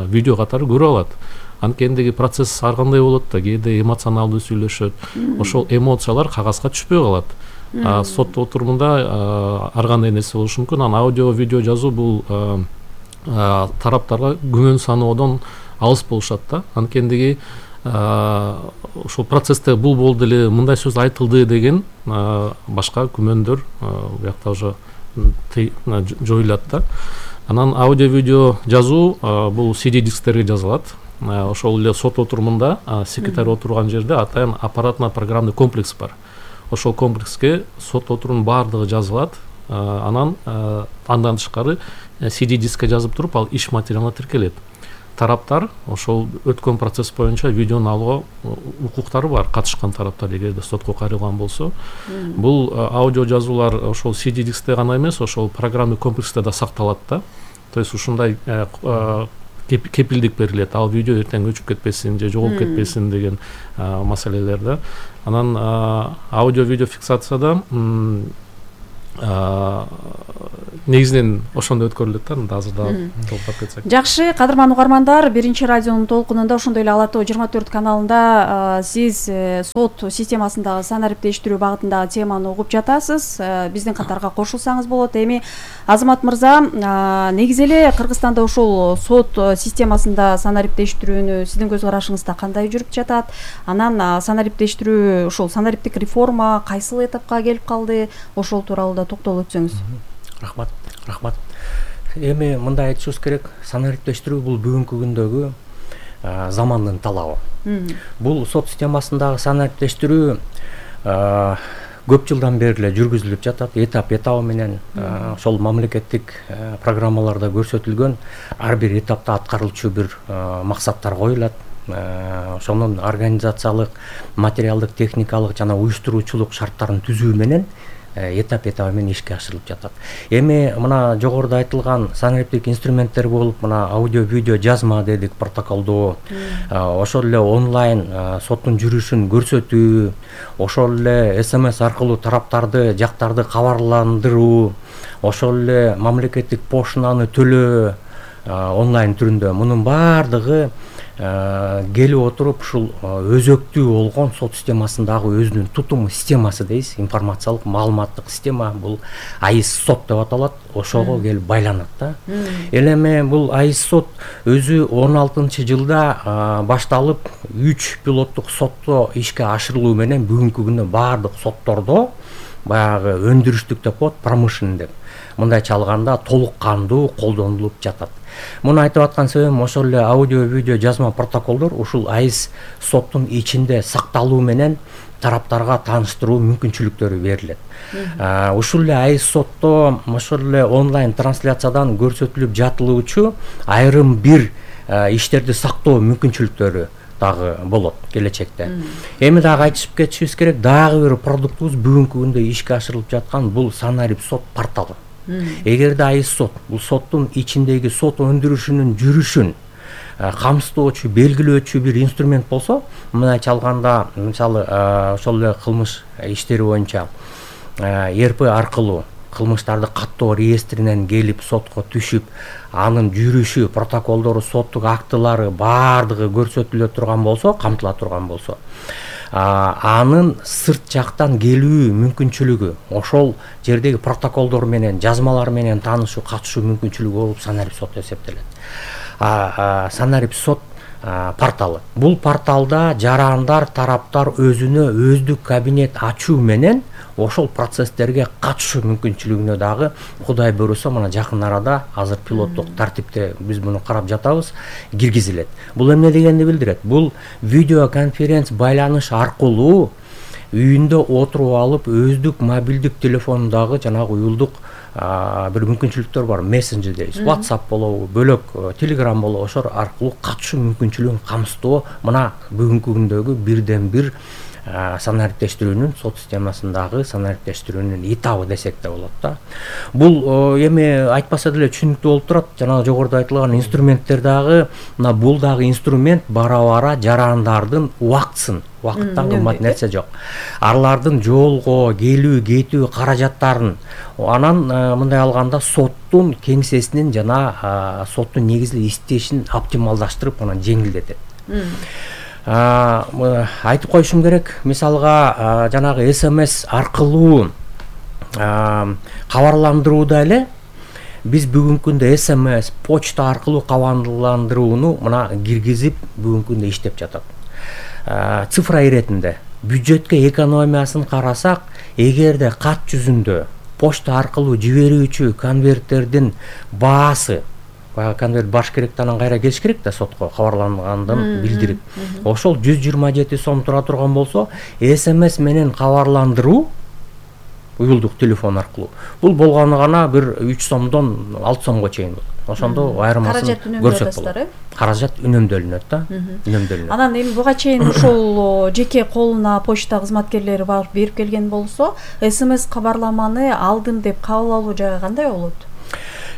видео катары көрүп алат. Анткендеги процесс ар кандай болот да, кээде эмоционалдуу сүйлөшөт. Ошол эмоциялар кагазга түшпөй калат. Сот отурумунда ар кандай нерсе болушу мүмкүн. Анан аудио видео жазуу бул тараптарга күмөн саноодон алыс болушат да. Анткендеги ошол процессте бул болду эле, мындай сөз айтылды деген башка күмөндөр буякта уже жоюлат да. Анан аудио видео жазуу бул си ди дисктерге жазылат. Ошол эле сот отурумунда секретарь отурган жерде атайын аппаратно-программный комплекс бар. Ошол комплекске сот отурумунун баардыгы жазылат. Анан андан тышкары си ди дискке жазып туруп, ал иш материалына тиркелет. Тараптар ошол өткөн процесс боюнча видеону алууга укуктары бар, катышкан тараптар эгерде сотко кайрылган болсо. Бул аудио жазуулар ошол си ди дискте гана эмес, ошол программный комплексте да сакталат да. То есть ушундай кепилдик берилет, ал видео эртең өчүп кетпесин же жоголуп кетпесин деген маселелер да. Анан аудио видео фиксацияда негизинен ошондой өткөрүлөт да, азыр дагы толуктап кетсек. Жакшы, кадырман угармандар, биринчи радионун толкунунда ошондой эле Ала Тоо жыйырма төрт каналында сиз сот системасындагы санариптештирүү багытындагы теманы угуп жатасыз. Биздин катарга кошулсаңыз болот. Эми Азамат мырза, негизи эле Кыргызстанда ошол сот системасында санариптештирүүнү сиздин көз карашыңызда кандай жүрүп жатат? Анан санариптештирүү, ошол санариптик реформа кайсыл этапка келип калды? Ошол тууралуу да токтолуп өтсөңүз. Рахмат, рахмат. Эми мындай айтышыбыз керек, санариптештирүү бул бүгүнкү күндөгү замандын талабы. Бул сот системасындагы санариптештирүү көп жылдан бери эле жүргүзүлүп жатат, этап этабы менен. Ошол мамлекеттик программаларда көрсөтүлгөн ар бир этапта аткарылчу бир максаттар коюлат. Ошонун организациялык, материалдык, техникалык жана уюштуруучулук шарттарын түзүү менен этап этабы менен ишке ашырылып жатат. Эми мына жогоруда айтылган санариптик инструменттер болуп, мына аудио видео жазма дедик, протоколдоо, ошол эле онлайн соттун жүрүшүн көрсөтүү, ошол эле эс эм эс аркылуу тараптарды, жактарды кабарландыруу, ошол эле мамлекеттик поштаны төлөө онлайн түрүндө, мунун баардыгы келип отуруп ушул өзөктүү болгон сот системасындагы өзүнүн тутуму системасы дейбиз, информациялык маалыматтык система, бул АИС сот деп аталат, ошого келип байланат да. Элеме бул АИС сот өзү он алтынчы жылда башталып, үч пилоттук сотто ишке ашырылуу менен бүгүнкү күндө баардык соттордо баягы өндүрүштүк деп коет, промышленный деп. Мындайча алганда толук кандуу колдонулуп жатат. Муну айтып аткан себебим ошол эле аудио, видео, жазма протоколдор ушул айыс соттун ичинде сакталуу менен тараптарга тааныштыруу мүмкүнчүлүктөрү берилет. Ушул эле айыс сотто ошол эле онлайн трансляциядан көрсөтүлүп жатылуучу айрым бир иштерди сактоо мүмкүнчүлүктөрү дагы болот келечекте. Эми дагы айтышып кетишибиз керек, дагы бир продуктубуз бүгүнкү күндө ишке ашырылып жаткан бул Санарип сот порталы. Эгерде айыс сот бул соттун ичиндеги сот өндүрүшүнүн жүрүшүн камсыздоочу, белгилөөчү бир инструмент болсо, мындайча алганда, мисалы, ошол эле кылмыш иштери боюнча эр пэ аркылуу кылмыштарды каттоо реестринен келип сотко түшүп, анын жүрүшү, протоколдору, соттук актылары баардыгы көрсөтүлө турган болсо, камтыла турган болсо, анын сырт жактан келүү мүмкүнчүлүгү, ошол жердеги протоколдор менен, жазмалар менен таанышуу, катышуу мүмкүнчүлүгү болуп Санарип сот эсептелет. Санарип сот порталы. Бул порталда жарандар, тараптар өзүнө өздүк кабинет ачуу менен ошол процесстерге катышуу мүмкүнчүлүгүнө дагы Кудай буйруса мына жакын арада азыр пилоттук тартипте биз муну карап жатабыз, киргизилет. Бул эмне дегенди билдирет? Бул видео конференц байланыш аркылуу үйүндө отуруп алып өздүк мобилдик телефонундагы жанагы уюлдук бир мүмкүнчүлүктөр бар, мессенджер дейбиз, WhatsApp болобу, бөлөк Telegram болобу, ошол аркылуу катышуу мүмкүнчүлүгүн камсыздоо мына бүгүнкү күндөгү бирден бир санариптештирүүнүн сот системасындагы санариптештирүүнүн этабы десек да болот да. Бул эми айтпаса деле түшүнүктүү болуп турат. Жанагы жогоруда айтылган инструменттер дагы, мына бул дагы инструмент бара-бара жарандардын убактысын, убакыттан кымбат нерсе жок. Алардын жолго келүү, кетүү каражаттарын, анан мындай алганда соттун кеңсесинин жана соттун негизги иштешин оптималдаштырып, анан жеңилдетет. Айтып коюшум керек, мисалга жанагы эс эм эс аркылуу кабарландырууда эле биз бүгүнкү күндө эс эм эс, почта аркылуу кабарландырууну мына киргизип бүгүнкү күндө иштеп жатат. Цифра иретинде бюджетке экономиясын карасак, эгерде кат жүзүндө почта аркылуу жиберүүчү конверттердин баасы, конверт баш керекти, анан кайра келиш керек да сотко кабарлангандын билдирип, ошол жүз жыйырма жети сом тура турган болсо, эс эм эс менен кабарландыруу уюлдук телефон аркылуу бул болгону гана бир үч сомдон алты сомго чейин болот. Ошондо айырмасын көрсөк болот. Каражат үнөмдөлүнөт да, үнөмдөлүнөт. Анан эми буга чейин ошол жеке колуна почта кызматкерлери барып берип келген болсо, эс эм эс кабарламаны алдым деп кабыл алуу жагы кандай болот?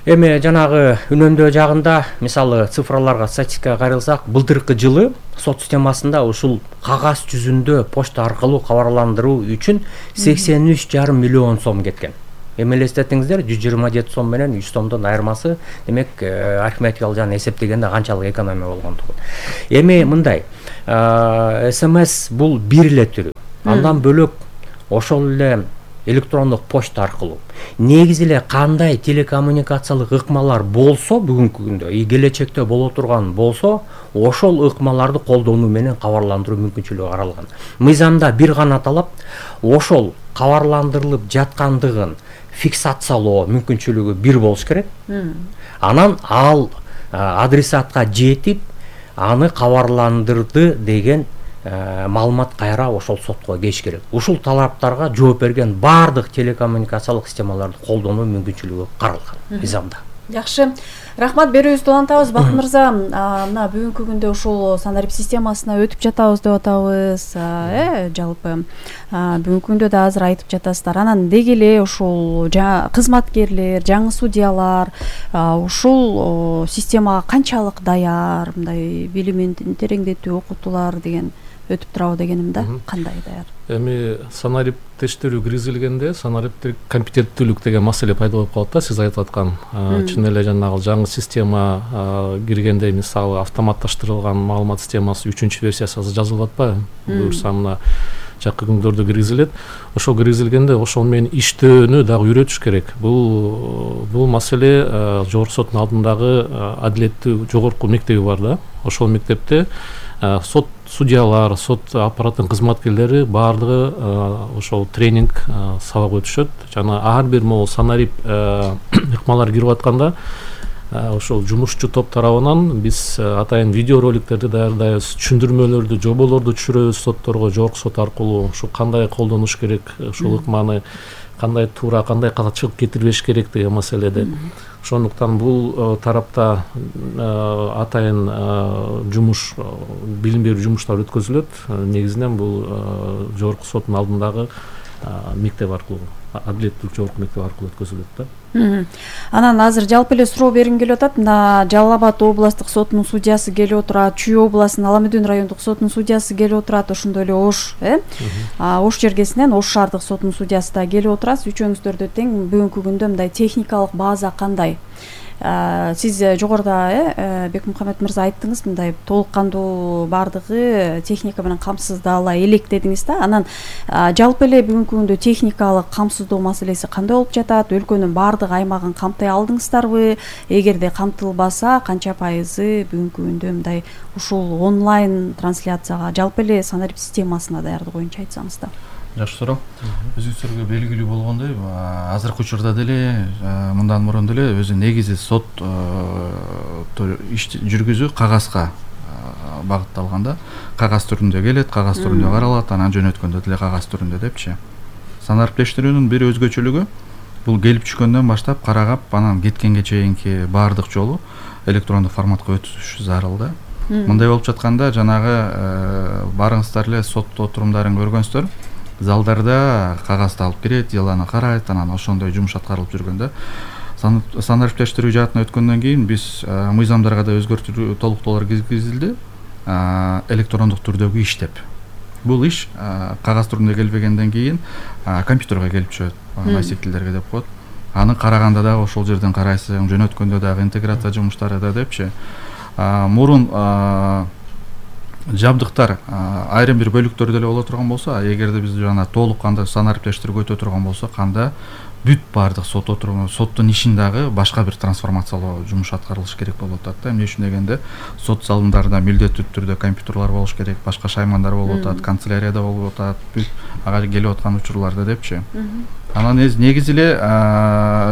Эми жанагы үнөмдөө жагында, мисалы цифраларга, статистикага каралсак, былтыркы жылы сот системасында ушул кагаз жүзүндө почта аркылуу кабарландыруу үчүн сексен үч жарым миллион сом кеткен. Эми элестетиңиздер, жүз жыйырма жети сом менен үч сомдон айырмасы, демек арифметикалык жагынан эсептегенде канчалык экономия болгондугу. Эми мындай, эс эм эс бул бир эле түрү. Андан бөлөк ошол эле электрондук почта аркылуу негизи эле кандай телекоммуникациялык ыкмалар болсо бүгүнкү күндө и келечекте боло турган болсо, ошол ыкмаларды колдонуу менен кабарландыруу мүмкүнчүлүгү каралган. Мыйзамда бир гана талап, ошол кабарландырылып жаткандыгын фиксациялоо мүмкүнчүлүгү бир болуш керек. Анан ал адресатка жетип, аны кабарландырды деген маалымат кайра ошол сотко келиш керек. Ушул талаптарга жооп берген баардык телекоммуникациялык системаларды колдонуу мүмкүнчүлүгү каралган мыйзамда. Жакшы. Рахмат, берүүбүздү улантабыз. Бакыт мырза, мына бүгүнкү күндө ушул Санарип системасына өтүп жатабыз деп атабыз. Э, жалпы бүгүнкү күндө да азыр айтып жатасыздар. Анан деги эле ушул кызматкерлер, жаңы судьялар ушул системага канчалык даяр, мындай билимин тереңдетүү, окутуулар деген өтүп турабы дегеним да, кандай даяр? Эми санариптештирүү киргизилгенде санариптик компетенттүүлүк деген маселе пайда болуп калат да, сиз айтып аткан. Чын эле жанагы жаңы система киргенде, мисалы автоматташтырылган маалымат системасы үчүнчү версиясы азыр жазылып атпайбы? Буюрса мына жакын күндөрдө киргизилет. Ошол киргизилгенде ошол менен иштөөнү дагы үйрөтүш керек. Бул бул маселе жогорку соттун алдындагы адилеттүү жогорку мектеби бар да. Ошол мектепте сот судьялар, сот аппаратынын кызматкерлери баардыгы ошол тренинг сабак өтүшөт. Жана ар бир могу санарип ыкмалар кирип атканда ошол жумушчу топ тарабынан биз атайын видеороликтерди даярдайбыз, түшүндүрмөлөрдү, жоболорду түшүрөбүз сотторго, жогорку сот аркылуу ушу кандай колдонуш керек, ушул ыкманы кандай туура, кандай чыгып кетирбеш керек деген маселеде. Ошондуктан бул тарапта атайын жумуш, билим берүү жумуштары өткөзүлөт. Негизинен бул жогорку соттун алдындагы мектеп аркылуу, адилеттүүлүк жогорку мектеп аркылуу өткөзүлөт да. Анан азыр жалпы эле суроо бергим келип атат. Мына Жалал Абад областык сотунун судьясы келип отурат, Чүй областынын Ала-Медин райондук сотунун судьясы келип отурат, ошондой эле Ош, э? Ош жергесинен Ош шаардык сотунун судьясы да келип отурат. Үчөөңүздөрдө тең бүгүнкү күндө мындай техникалык база кандай? Сиз жогоруда э Бекмухаммед мырза айттыңыз, мындай толук кандуу баардыгы техника менен камсыздала элек дедиңиз да. Анан жалпы эле бүгүнкү күндө техникалык камсыздоо маселеси кандай болуп жатат? Өлкөнүн баардык аймагын камтай алдыңыздарбы? Эгерде камтылбаса, канча пайызы бүгүнкү күндө мындай ушул онлайн трансляцияга жалпы эле санарип системасына даярдык боюнча айтсаңыз да. Жакшы суроо. Өзүңүздөргө белгилүү болгондой, азыркы учурда деле мындан мурун деле өзү негизи сот иш жүргүзүү кагазга багытталган да. Кагаз түрүндө келет, кагаз түрүндө каралат, анан жөнөткөндө деле кагаз түрүндө депчи. Санариптештирүүнүн бир өзгөчөлүгү бул келип түшкөндөн баштап карагап, анан кеткенге чейинки баардык жолу электрондук форматка өтүш зарыл да. Мындай болуп жатканда жанагы барыңыздар эле сот отурумдарын көргөнсүздөр. Залдарда кагазды алып кирет, деланы карайт, анан ошондой жумуш аткарылып жүргөндө санариптештирүү жаатына өткөндөн кийин биз мыйзамдарга да өзгөртүү толуктоолор киргизилди. Электрондук түрдөгү иш деп. Бул иш кагаз түрүндө келбегенден кийин компьютерге келип түшөт, носителдерге деп коет. Аны караганда дагы ошол жерден карайсың, жөнөткөндө дагы интеграция жумуштары да депчи. Мурун жабдыктар айрым бир бөлүктөрдө эле боло турган болсо, эгерде биз жана толук кандай санариптештирүүгө өтө турган болсо, канда бүт баардык сот отуруму, соттун ишин дагы башка бир трансформациялоо жумуш аткарылыш керек болуп атат да. Эмне үчүн дегенде, сот залдарында милдеттүү түрдө компьютерлар болуш керек, башка шаймандар болуп атат, канцелярияда болуп атат, бүт ага келип аткан учурларда депчи. Анан негизи эле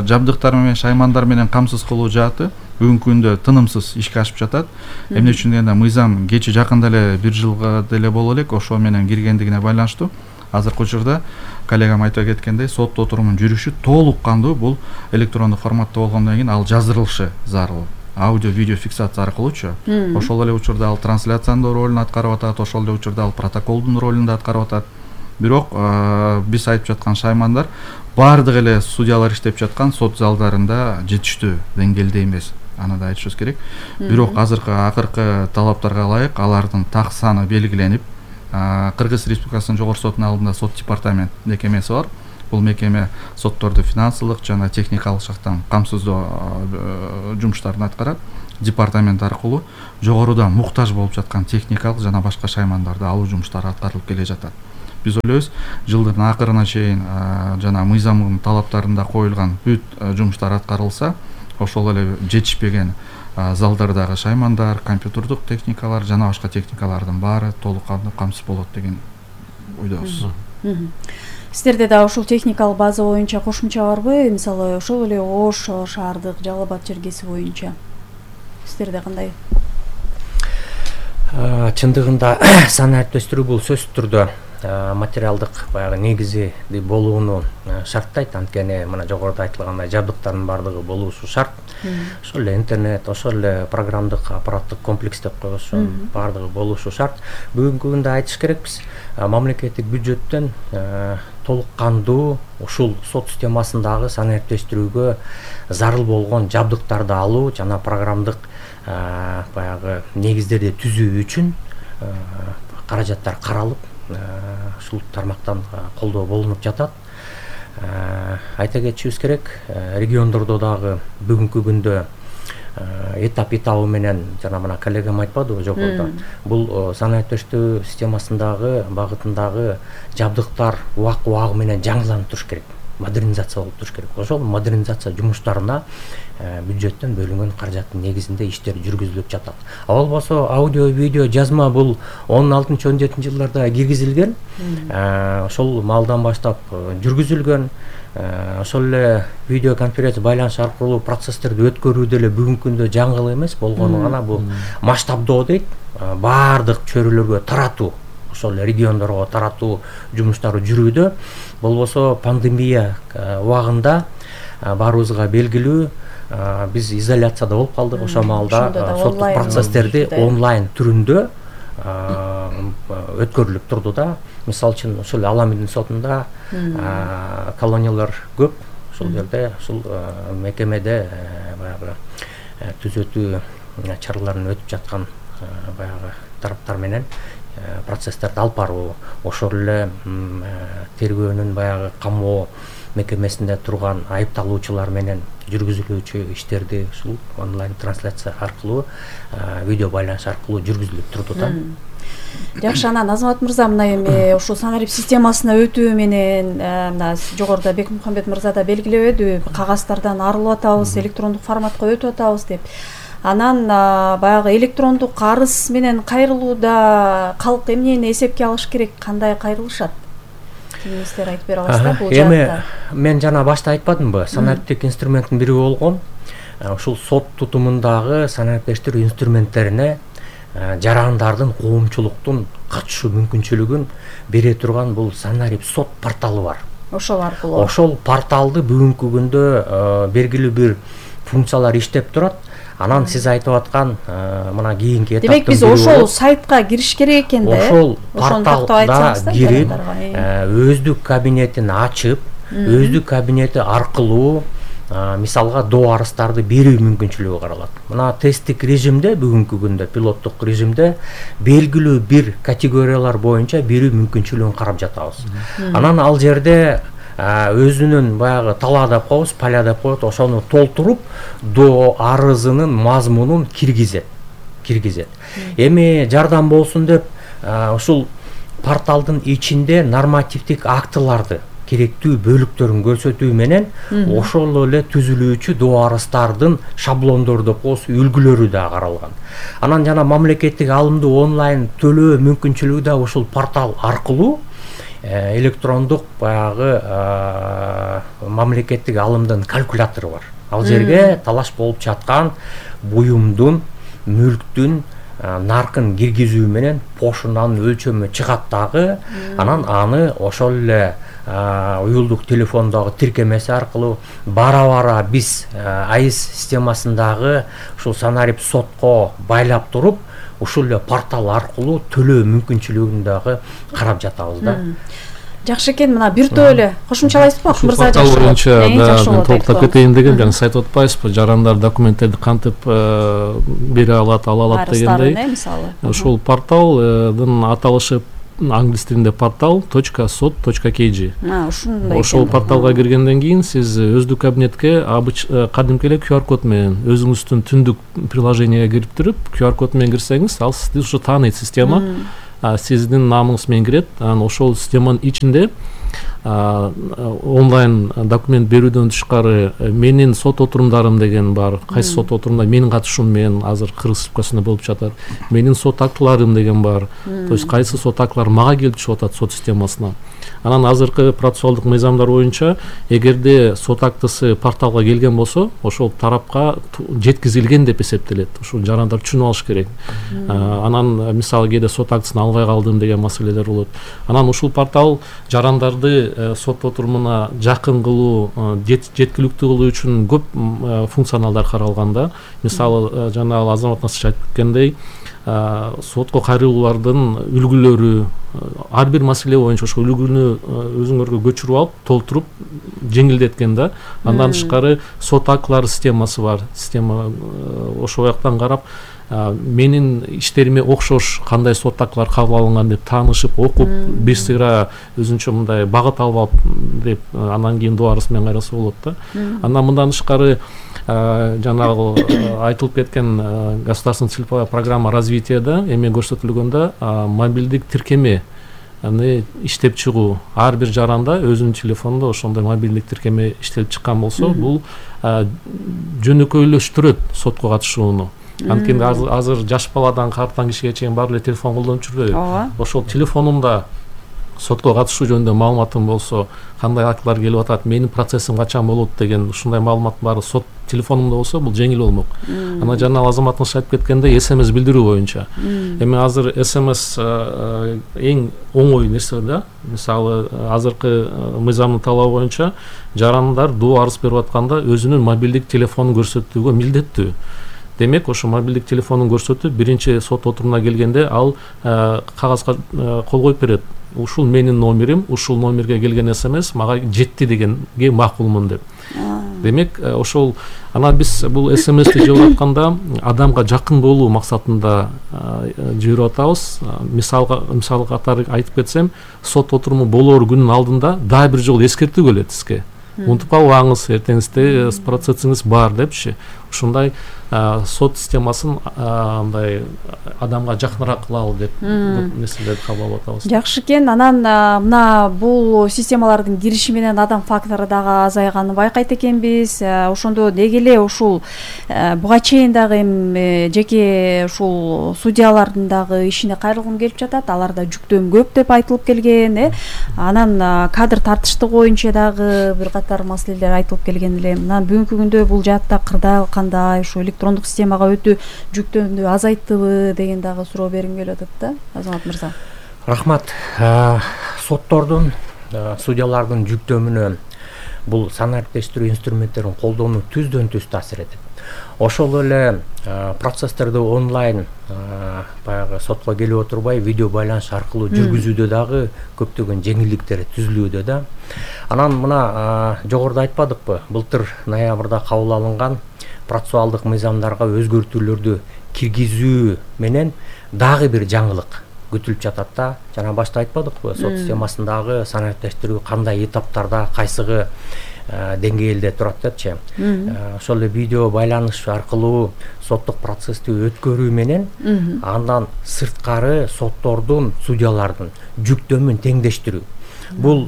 жабдыктар менен шаймандар менен камсыз кылуу жааты бүгүнкү күндө тынымсыз ишке ашып жатат. Эмне үчүн дегенде, мыйзам кечи жакында эле бир жылга деле боло элек ошо менен киргендигине байланыштуу азыркы учурда коллегам айтып кеткендей, сот отурумунун жүрүшү толук кандуу бул электрондук форматта болгондон кийин ал жаздырылышы зарыл. Аудио, видео фиксация аркылуучу. Ошол эле учурда ал трансляциянын ролун аткарып атат, ошол эле учурда ал протоколдун ролун да аткарып атат. Бирок биз айтып жаткан шаймандар баардык эле судьялар иштеп жаткан сот залдарында жетиштүү деңгээлде эмес. Аны да айтышыбыз керек. Бирок азыркы акыркы талаптарга ылайык алардын так саны белгиленип, Кыргыз Республикасынын жогорку сотунун алдында сот департамент мекемеси бар. Бул мекеме сотторду финансылык жана техникалык жактан камсыздоо жумуштарын аткарат. Департамент аркылуу жогоруда муктаж болуп жаткан техникалык жана башка шаймандарды алуу жумуштары аткарылып келе жатат. Биз ойлойбуз, жылдын акырына чейин жана мыйзамдын талаптарында коюлган бүт жумуштар аткарылса, ошол эле жетишпеген залдардагы шаймандар, компьютердук техникалар жана башка техникалардын баары толук камсыз болот деген ойдобуз. Сиздерде да ушул техникалык база боюнча кошумча барбы? Мисалы, ошол эле Ош шаардык, Жалал Абад жергеси боюнча сиздерде кандай? Чындыгында санариптештирүү бул сөзсүз түрдө материалдык баягы негизи болууну шарттайт. Анткени мына жогоруда айтылгандай жабдыктардын баардыгы болуусу шарт. Ошол эле интернет, ошол эле программдык аппараттык комплекс деп коебуз, баардыгы болуусу шарт. Бүгүнкү күндө айтыш керекпиз, мамлекеттик бюджеттен толук кандуу ушул сот системасындагы санариптештирүүгө зарыл болгон жабдыктарды алуу жана программдык баягы негиздерди түзүү үчүн каражаттар каралып, ушул тармактан колдоо болунуп жатат. Айта кетишибиз керек, региондордо дагы бүгүнкү күндө этап этабы менен жана мына коллегам айтпадыбы жогоруда, бул санариптештирүү системасындагы багытындагы жабдыктар убак убагы менен жаңыланып туруш керек. модернизация болуп туруш керек. Ошол модернизация жумуштарына бюджеттен бөлүнгөн каражаттын негизинде иштер жүргүзүлүп жатат. А болбосо аудио, видео, жазма бул он алтынчы он жетинчи жылдарда киргизилген. Ошол маалдан баштап жүргүзүлгөн. Ошол эле видеоконференция байланыш аркылуу процесстерди өткөрүү деле бүгүнкү күндө жаңгыл эмес болгону гана бул масштабдоо дейт. Баардык чөйрөлөргө таратуу, ошол региондорго таратуу жумуштары жүрүүдө. Болбосо пандемия убагында баарыбызга белгилүү биз изоляцияда болуп калдык. Ошол маалда соттук процесстерди онлайн түрүндө өткөрүлүп турду да. Мисалы үчүн ошол Аламидин сотунда колониялар көп. Ошол жерде ушул мекемеде баягы түзөтүү чараларын өтүп жаткан баягы тараптар менен процесстерди алып баруу, ошол эле тергөөнүн баягы камоо мекемесинде турган айыпталуучулар менен жүргүзүлүүчү иштерди ушул онлайн трансляция аркылуу, видео байланыш аркылуу жүргүзүлүп турду да. Жакшы, анан Азамат мырза, мына эми ушул санарип системасына өтүү менен мына жогоруда Бекмухамбет мырза да белгилебеди, кагаздардан арылып атабыз, электрондук форматка өтүп атабыз деп. Анан баягы электрондук карыз менен кайрылууда калк эмнени эсепке алыш керек, кандай кайрылышат? Кеңештер айтып бере аласыздар бул жакта? Эми мен жана башта айтпадымбы, санариптик инструменттин бири болгон ушул сот тутумундагы санариптештирүү инструменттерине жарандардын, коомчулуктун катышуу мүмкүнчүлүгүн бере турган бул санарип сот порталы бар. Ошол аркылуу. Ошол порталды бүгүнкү күндө белгилүү бир функциялар иштеп турат. Анан сиз айтып аткан мына кийинки этаптын демек биз ошол сайтка кириш керек экен да. Ошол порталга кирип, өздүк кабинетин ачып, өздүк кабинети аркылуу мисалга доо арыздарды берүү мүмкүнчүлүгү каралат. Мына тесттик режимде бүгүнкү күндө, пилоттук режимде белгилүү бир категориялар боюнча берүү мүмкүнчүлүгүн карап жатабыз. Анан ал жерде өзүнүн баягы тала деп коебуз, поля деп коет, ошону толтуруп доо арызынын мазмунун киргизет. Киргизет. Эми жардам болсун деп ушул порталдын ичинде нормативдик актыларды, керектүү бөлүктөрүн көрсөтүү менен ошол эле түзүлүүчү доо арыздардын шаблондору деп коебуз, үлгүлөрү да каралган. Анан жана мамлекеттик алымды онлайн төлөө мүмкүнчүлүгү да ушул портал аркылуу электрондук баягы мамлекеттик алымдын калькулятору бар. Ал жерге талаш болуп жаткан буюмдун, мүлктүн наркын киргизүү менен пошунанын өлчөмү чыгат дагы. Анан аны ошол эле уюлдук телефондогу тиркемеси аркылуу бара-бара биз АИС системасындагы ушул санарип сотко байлап туруп, ушул эле портал аркылуу төлөө мүмкүнчүлүгүн дагы карап жатабыз да. Жакшы экен, мына биртөө эле кошумчалайсызбы? Мырза жакшы боюнча да толуктап кетейин деген, жана сайт отпайсызбы? Жарандар документтерди кантип бере алат, ала алат дегендей. Ушул порталдын аталышы англис тилинде портал точка сот точка кей джи. Ошол порталга киргенден кийин сиз өздүк кабинетке кадимки эле ку ар код менен өзүңүздүн түндүк приложенияга кирип туруп, ку ар код менен кирсеңиз, ал сизди ушу тааныйт система. Сиздин намыңыз менен кирет. Анан ошол системанын ичинде онлайн документ берүүдөн тышкары менин сот отурумдарым деген бар. Кайсы сот отурумда менин катышуум менен азыр Кыргыз Республикасында болуп жатат. Менин сот актыларым деген бар. То есть кайсы сот актылар мага келип түшүп атат сот системасына. Анан азыркы процессуалдык мыйзамдар боюнча эгерде сот актысы порталга келген болсо, ошол тарапка жеткизилген деп эсептелет. Ушул жарандар түшүнүп алыш керек. Анан мисалы кээде сот актысын албай калдым деген маселелер болот. Анан ушул портал жарандарды сот отурумуна жакын кылуу, жеткиликтүү кылуу үчүн көп функционалдар каралган да. Мисалы жана Азамат Насыр айтып кеткендей, сотко кайрылуулардын үлгүлөрү, ар бир маселе боюнча ошол үлгүнү өзүңөргө көчүрүп алып, толтуруп жеңилдеткен да. Андан тышкары сот актылары системасы бар. Система ошол жактан карап менин иштериме окшош кандай сот актылар кабыл алынган деп таанышып, окуп, бир сыйра өзүнчө мындай багыт алып деп анан кийин доо арыз менен кайрылса болот да. Андан мындан тышкары жанагы айтылып кеткен государственная целевая программа развитияда эме көрсөтүлгөндө мобилдик тиркеме аны иштеп чыгуу. Ар бир жаранда өзүнүн телефонунда ошондой мобилдик тиркеме иштелип чыккан болсо, бул жөнөкөйлөштүрөт сотко катышууну. Анткени азыр жаш баладан карттан кишиге чейин баары эле телефон колдонуп жүрбөйбү. Ошол телефонумда сотко катышуу жөнүндө маалыматым болсо, кандай актылар келип атат, менин процессим качан болот деген ушундай маалымат баары сот телефонумда болсо, бул жеңил болмок. Ана жана азаматыңыз айтып кеткендей эс эм эс билдирүү боюнча. Эми азыр эс эм эс эң оңой нерсе да. Мисалы, азыркы мыйзамдын талабы боюнча жарандар доо арыз берип атканда өзүнүн мобилдик телефонун көрсөтүүгө милдеттүү. Демек, ошо мобилдик телефонун көрсөтүп, биринчи сот отурумуна келгенде ал кагазга кол коюп берет. Ушул менин номерим, ушул номерге келген эс эм эс мага жетти дегенге макулмун деп. Демек, ошол ана биз бул эс эм эсти жиберип атканда адамга жакын болуу максатында жиберип атабыз. Мисалга, мисал катары айтып кетсем, сот отуруму болоор күнүн алдында дагы бир жолу эскертүү келет сизге. Унутуп калбаңыз, эртеңизде процессиңиз бар депчи. Ушундай сот системасын андай адамга жакыныраак кылалы деп нерселерди кабыл алып атабыз. Жакшы экен. Анан мына бул системалардын кириши менен адам фактору дагы азайганын байкайт экенбиз. Ошондо деги эле ушул буга чейин дагы эми жеке ушул судьялардын дагы ишине кайрылгым келип жатат. Аларда жүктөм көп деп айтылып келген, э. Анан кадр тартыштыгы боюнча дагы бир катар маселелер айтылып келген эле. Мына бүгүнкү күндө бул жаатта кырдаал кандай, ушу электрондук системага өтүү жүктөмдү азайттыбы деген дагы суроо бергим келип атат да, Азамат мырза. Рахмат. Соттордун, судьялардын жүктөмүнө бул санариптештирүү инструменттерин колдонуу түздөн түз таасир этет. Ошол эле процесстерди онлайн баягы сотко келип отурбай видео байланыш аркылуу жүргүзүүдө дагы көптөгөн жеңилдиктер түзүлүүдө да. Анан мына жогоруда айтпадыкпы, былтыр ноябрда кабыл алынган процессуалдык мыйзамдарга өзгөртүүлөрдү киргизүү менен дагы бир жаңылык күтүлүп жатат да. Жана башта айтпадыкпы, сот системасындагы санариптештирүү кандай этаптарда, кайсыгы деңгээлде турат депчи. Ошол эле видео байланыш аркылуу соттук процессти өткөрүү менен андан сырткары соттордун, судьялардын жүктөмүн теңдештирүү. Бул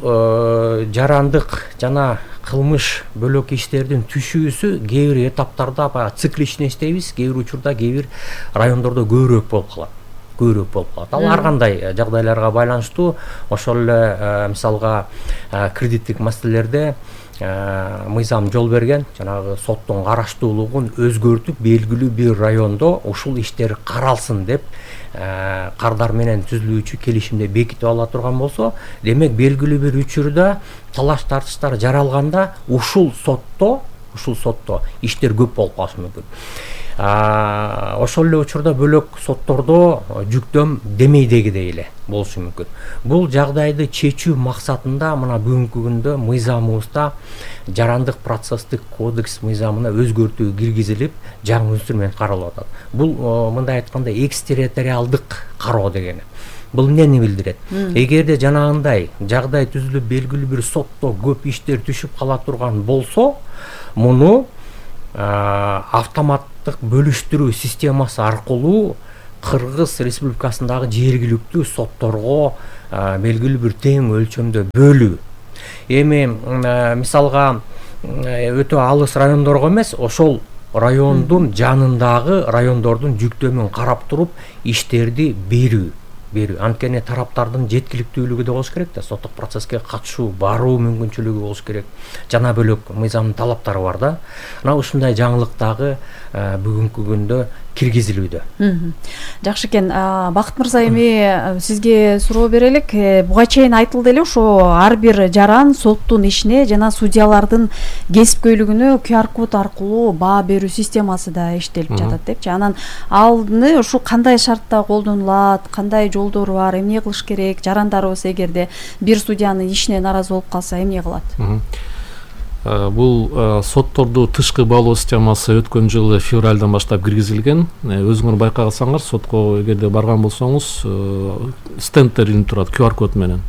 жарандык жана кылмыш бөлөк иштердин түшүүсү кээ бир этаптарда баягы цикличный иштейбиз, кээ бир учурда кээ бир райондордо көбүрөөк болуп калат. көбүрөөк болуп калат. Ал ар кандай жагдайларга байланыштуу. Ошол эле мисалга кредиттик маселелерде мыйзам жол берген, жанагы соттун караштуулугун өзгөртүп, белгилүү бир райондо ушул иштер каралсын деп кардар менен түзүлүүчү келишимде бекитип ала турган болсо, демек белгилүү бир учурда талаш тартыштар жаралганда ушул сотто, ушул сотто иштер көп болуп калышы мүмкүн. Ошол эле учурда бөлөк соттордо жүктөм демейдегидей эле болушу мүмкүн. Бул жагдайды чечүү максатында мына бүгүнкү күндө мыйзамыбызда жарандык процесстик кодекс мыйзамына өзгөртүү киргизилип, жаңы инструмент каралып атат. Бул мындай айтканда экстерриториалдык кароо дегени. Бул эмнени билдирет? Эгерде жанагындай жагдай түзүлүп, белгилүү бир сотто көп иштер түшүп кала турган болсо, муну автоматтык бөлүштүрүү системасы аркылуу Кыргыз Республикасындагы жергиликтүү сотторго белгилүү бир тең өлчөмдө бөлүү. Эми мисалга өтө алыс райондорго эмес, ошол райондун жанындагы райондордун жүктөмүн карап туруп иштерди берүү. берүү. Анткени тараптардын жеткиликтүүлүгү да болуш керек да, соттук процесске катышуу, баруу мүмкүнчүлүгү болуш керек. Жана бөлөк мыйзамдын талаптары бар да. Мына ушундай жаңылык дагы бүгүнкү күндө киргизилүүдө. Жакшы экен. Бакыт мырза, эми сизге суроо берелик. Буга чейин айтылды эле, ошо ар бир жаран соттун ишине жана судьялардын кесипкөйлүгүнө ку ар код аркылуу баа берүү системасы да иштелип жатат депчи. Анан алны ушу кандай шартта колдонулат, кандай жолдору бар, эмне кылыш керек? Жарандарыбыз эгерде бир судьянын ишине наразы болуп калса эмне кылат? Бул сотторду тышкы баалоо системасы өткөн жылы февралдан баштап киргизилген. Өзүңөр байкасаңар, сотко эгерде барган болсоңуз, стендтер илинип турат ку ар код менен.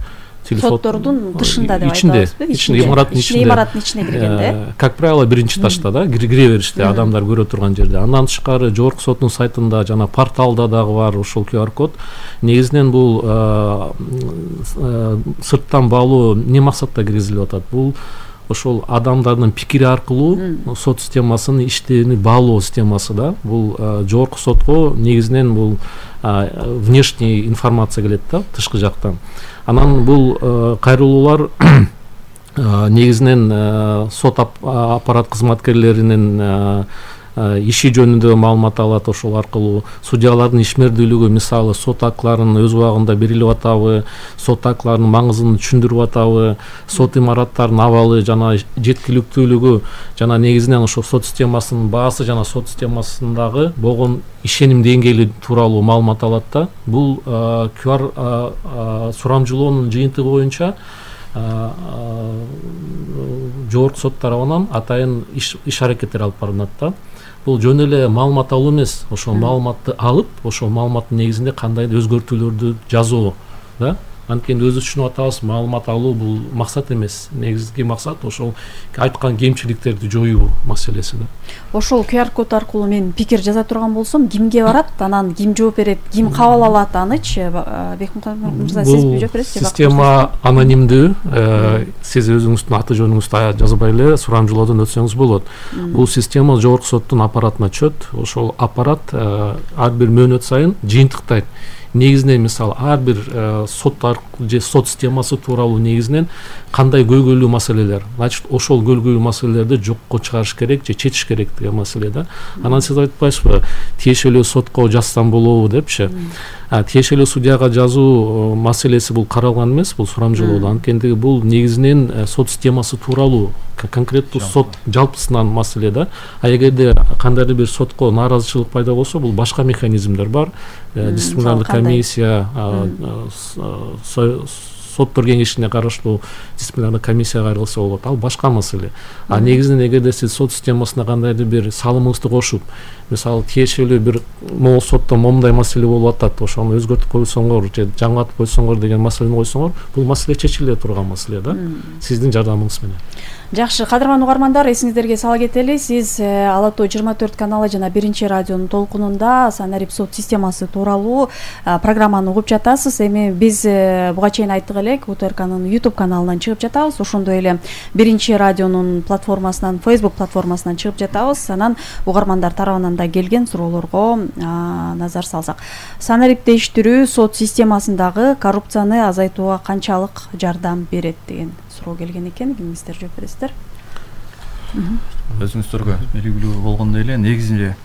соттордун тышында деп ичинде, айтабызбы? ичинде, имараттын ичинде. Имараттын ичине киргенде. Как правило, биринчи этажда да, кире бериште, адамдар көрө турган жерде. Андан тышкары жогорку соттун сайтында жана порталда дагы бар ошол ку ар код. Негизинен бул сырттан баалоо эмне максатта киргизилип атат? Бул ошол адамдардын пикири аркылуу сот системасынын иштеrini баалоо системасы да. Бул жогорку сотко негизинен бул внешний информация келет да, тышкы жактан. Анан бул кайрылуулар негизинен сот аппарат кызматкерлеринин иши жөнүндө маалымат алат, ошол аркылуу судьялардын ишмердүүлүгү, мисалы сот актыларын өз убагында берилип атабы, сот актыларынын маңызын түшүндүрүп атабы, сот имараттарынын абалы жана жеткиликтүүлүгү жана негизинен ошол сот системасынын баасы жана сот системасындагы болгон ишеним деңгээли тууралуу маалымат алат да. Бул ку ар сурамжылоонун жыйынтыгы боюнча жогорку сот тарабынан атайын иш аракеттер алып барылат да. Бул жөн эле маалымат алуу эмес, ошол маалыматты алып, ошол маалыматтын негизинде кандайдыр өзгөртүүлөрдү жазуу да. Анткени өзүбүз түшүнүп атабыз, маалымат алуу бул максат эмес. Негизги максат ошол айткан кемчиликтерди жоюу маселеси да. Ошол ку ар код аркылуу мен пикир жаза турган болсом, кимге барат, анан ким жооп берет, ким кабыл алат анычы? Бекмуртат мырза, сиз жооп бересизби? Система анонимдүү, сиз өзүңүздүн аты жөнүңүздү жазбай эле сурамжылоодон өтсөңүз болот. Бул система жогорку соттун аппаратына түшөт. Ошол аппарат ар бир мөөнөт сайын жыйынтыктайт. Негизинен мисалы ар бир сот же сот системасы тууралуу негизинен кандай көйгөйлүү маселелер, значит ошол көйгөйлүү маселелерди жокко чыгарыш керек же чечиш керек деген маселе да. Анан сиз айтпайсызбы, тиешелүү сотко жазсам болобу депчи? Тиешелүү судьяга жазуу маселеси бул каралган эмес, бул сурамжылоодо. Анткени бул негизинен сот системасы тууралуу конкреттүү сот жалпысынан маселе да. А эгерде кандайдыр бир сотко нааразычылык пайда болсо, бул башка механизмдер бар. Дисциплинардык комиссия, соттор кеңешине караштуу дисциплинардык комиссия кайрылса болот. Ал башка маселе. А негизинен эгерде сиз сот системасына кандайдыр бир салымыңызды кошуп, мисалы тиешелүү бир могул сотто момундай маселе болуп атат, ошону өзгөртүп койсоңор же жаңылатып койсоңор деген маселени койсоңор, бул маселе чечиле турган маселе да. Сиздин жардамыңыз менен. Жакшы, кадырман угармандар, эсиңиздерге сала кетели, сиз Ала Тоо жыйырма төрт каналы жана биринчи радионун толкунунда Санарип сот системасы тууралуу программаны угуп жатасыз. Эми биз буга чейин айттык элек, УТРКнын YouTube каналынан чыгып жатабыз, ошондой эле биринчи радионун платформасынан, Facebook платформасынан чыгып жатабыз. Анан угармандар тарабынан да келген суроолорго назар салсак, Санарип териштирүү сот системасындагы коррупцияны азайтууга канчалык жардам берет деген суроо келген экен. Кимиңиздер жооп бересиздер? Өзүңүздөргө белгилүү болгондой эле, негизинде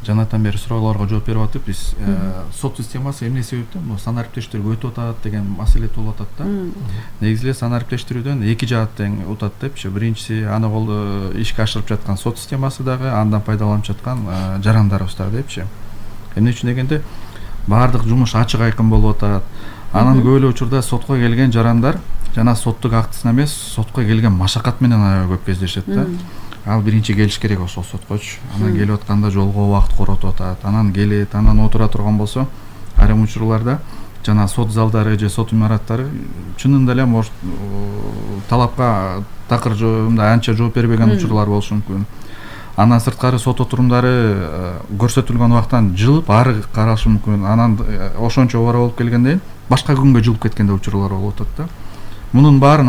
жанатан бери суроолорго жооп берип атып, биз сот системасы эмне себептен бул санариптештирүүгө өтүп атат деген маселе туулуп атат да. Негизи эле санариптештирүүдөн эки жаат тең утат депчи. Биринчиси аны кол ишке ашырып жаткан сот системасы дагы, андан пайдаланып жаткан жарандарыбыз дагы депчи. Эмне үчүн дегенде, баардык жумуш ачык айкын болуп атат. Анан көп эле учурда сотко келген жарандар жана соттук актысына эмес, сотко келген машакат менен аябай көп кездешет да. Ал биринчи келиш керек ошол соткочу. Анан келип атканда жолго убакыт коротуп атат. Анан келет, анан отура турган болсо, айрым учурларда жана сот залдары же сот имараттары чынында эле может талапка такыр мындай анча жооп бербеген учурлар болушу мүмкүн. Андан сырткары сот отурумдары көрсөтүлгөн убактан жылып ары карашы мүмкүн. Анан ошончо обара болуп келгенден башка күнгө жылып кеткен учурлар болуп атат да. Мунун баарын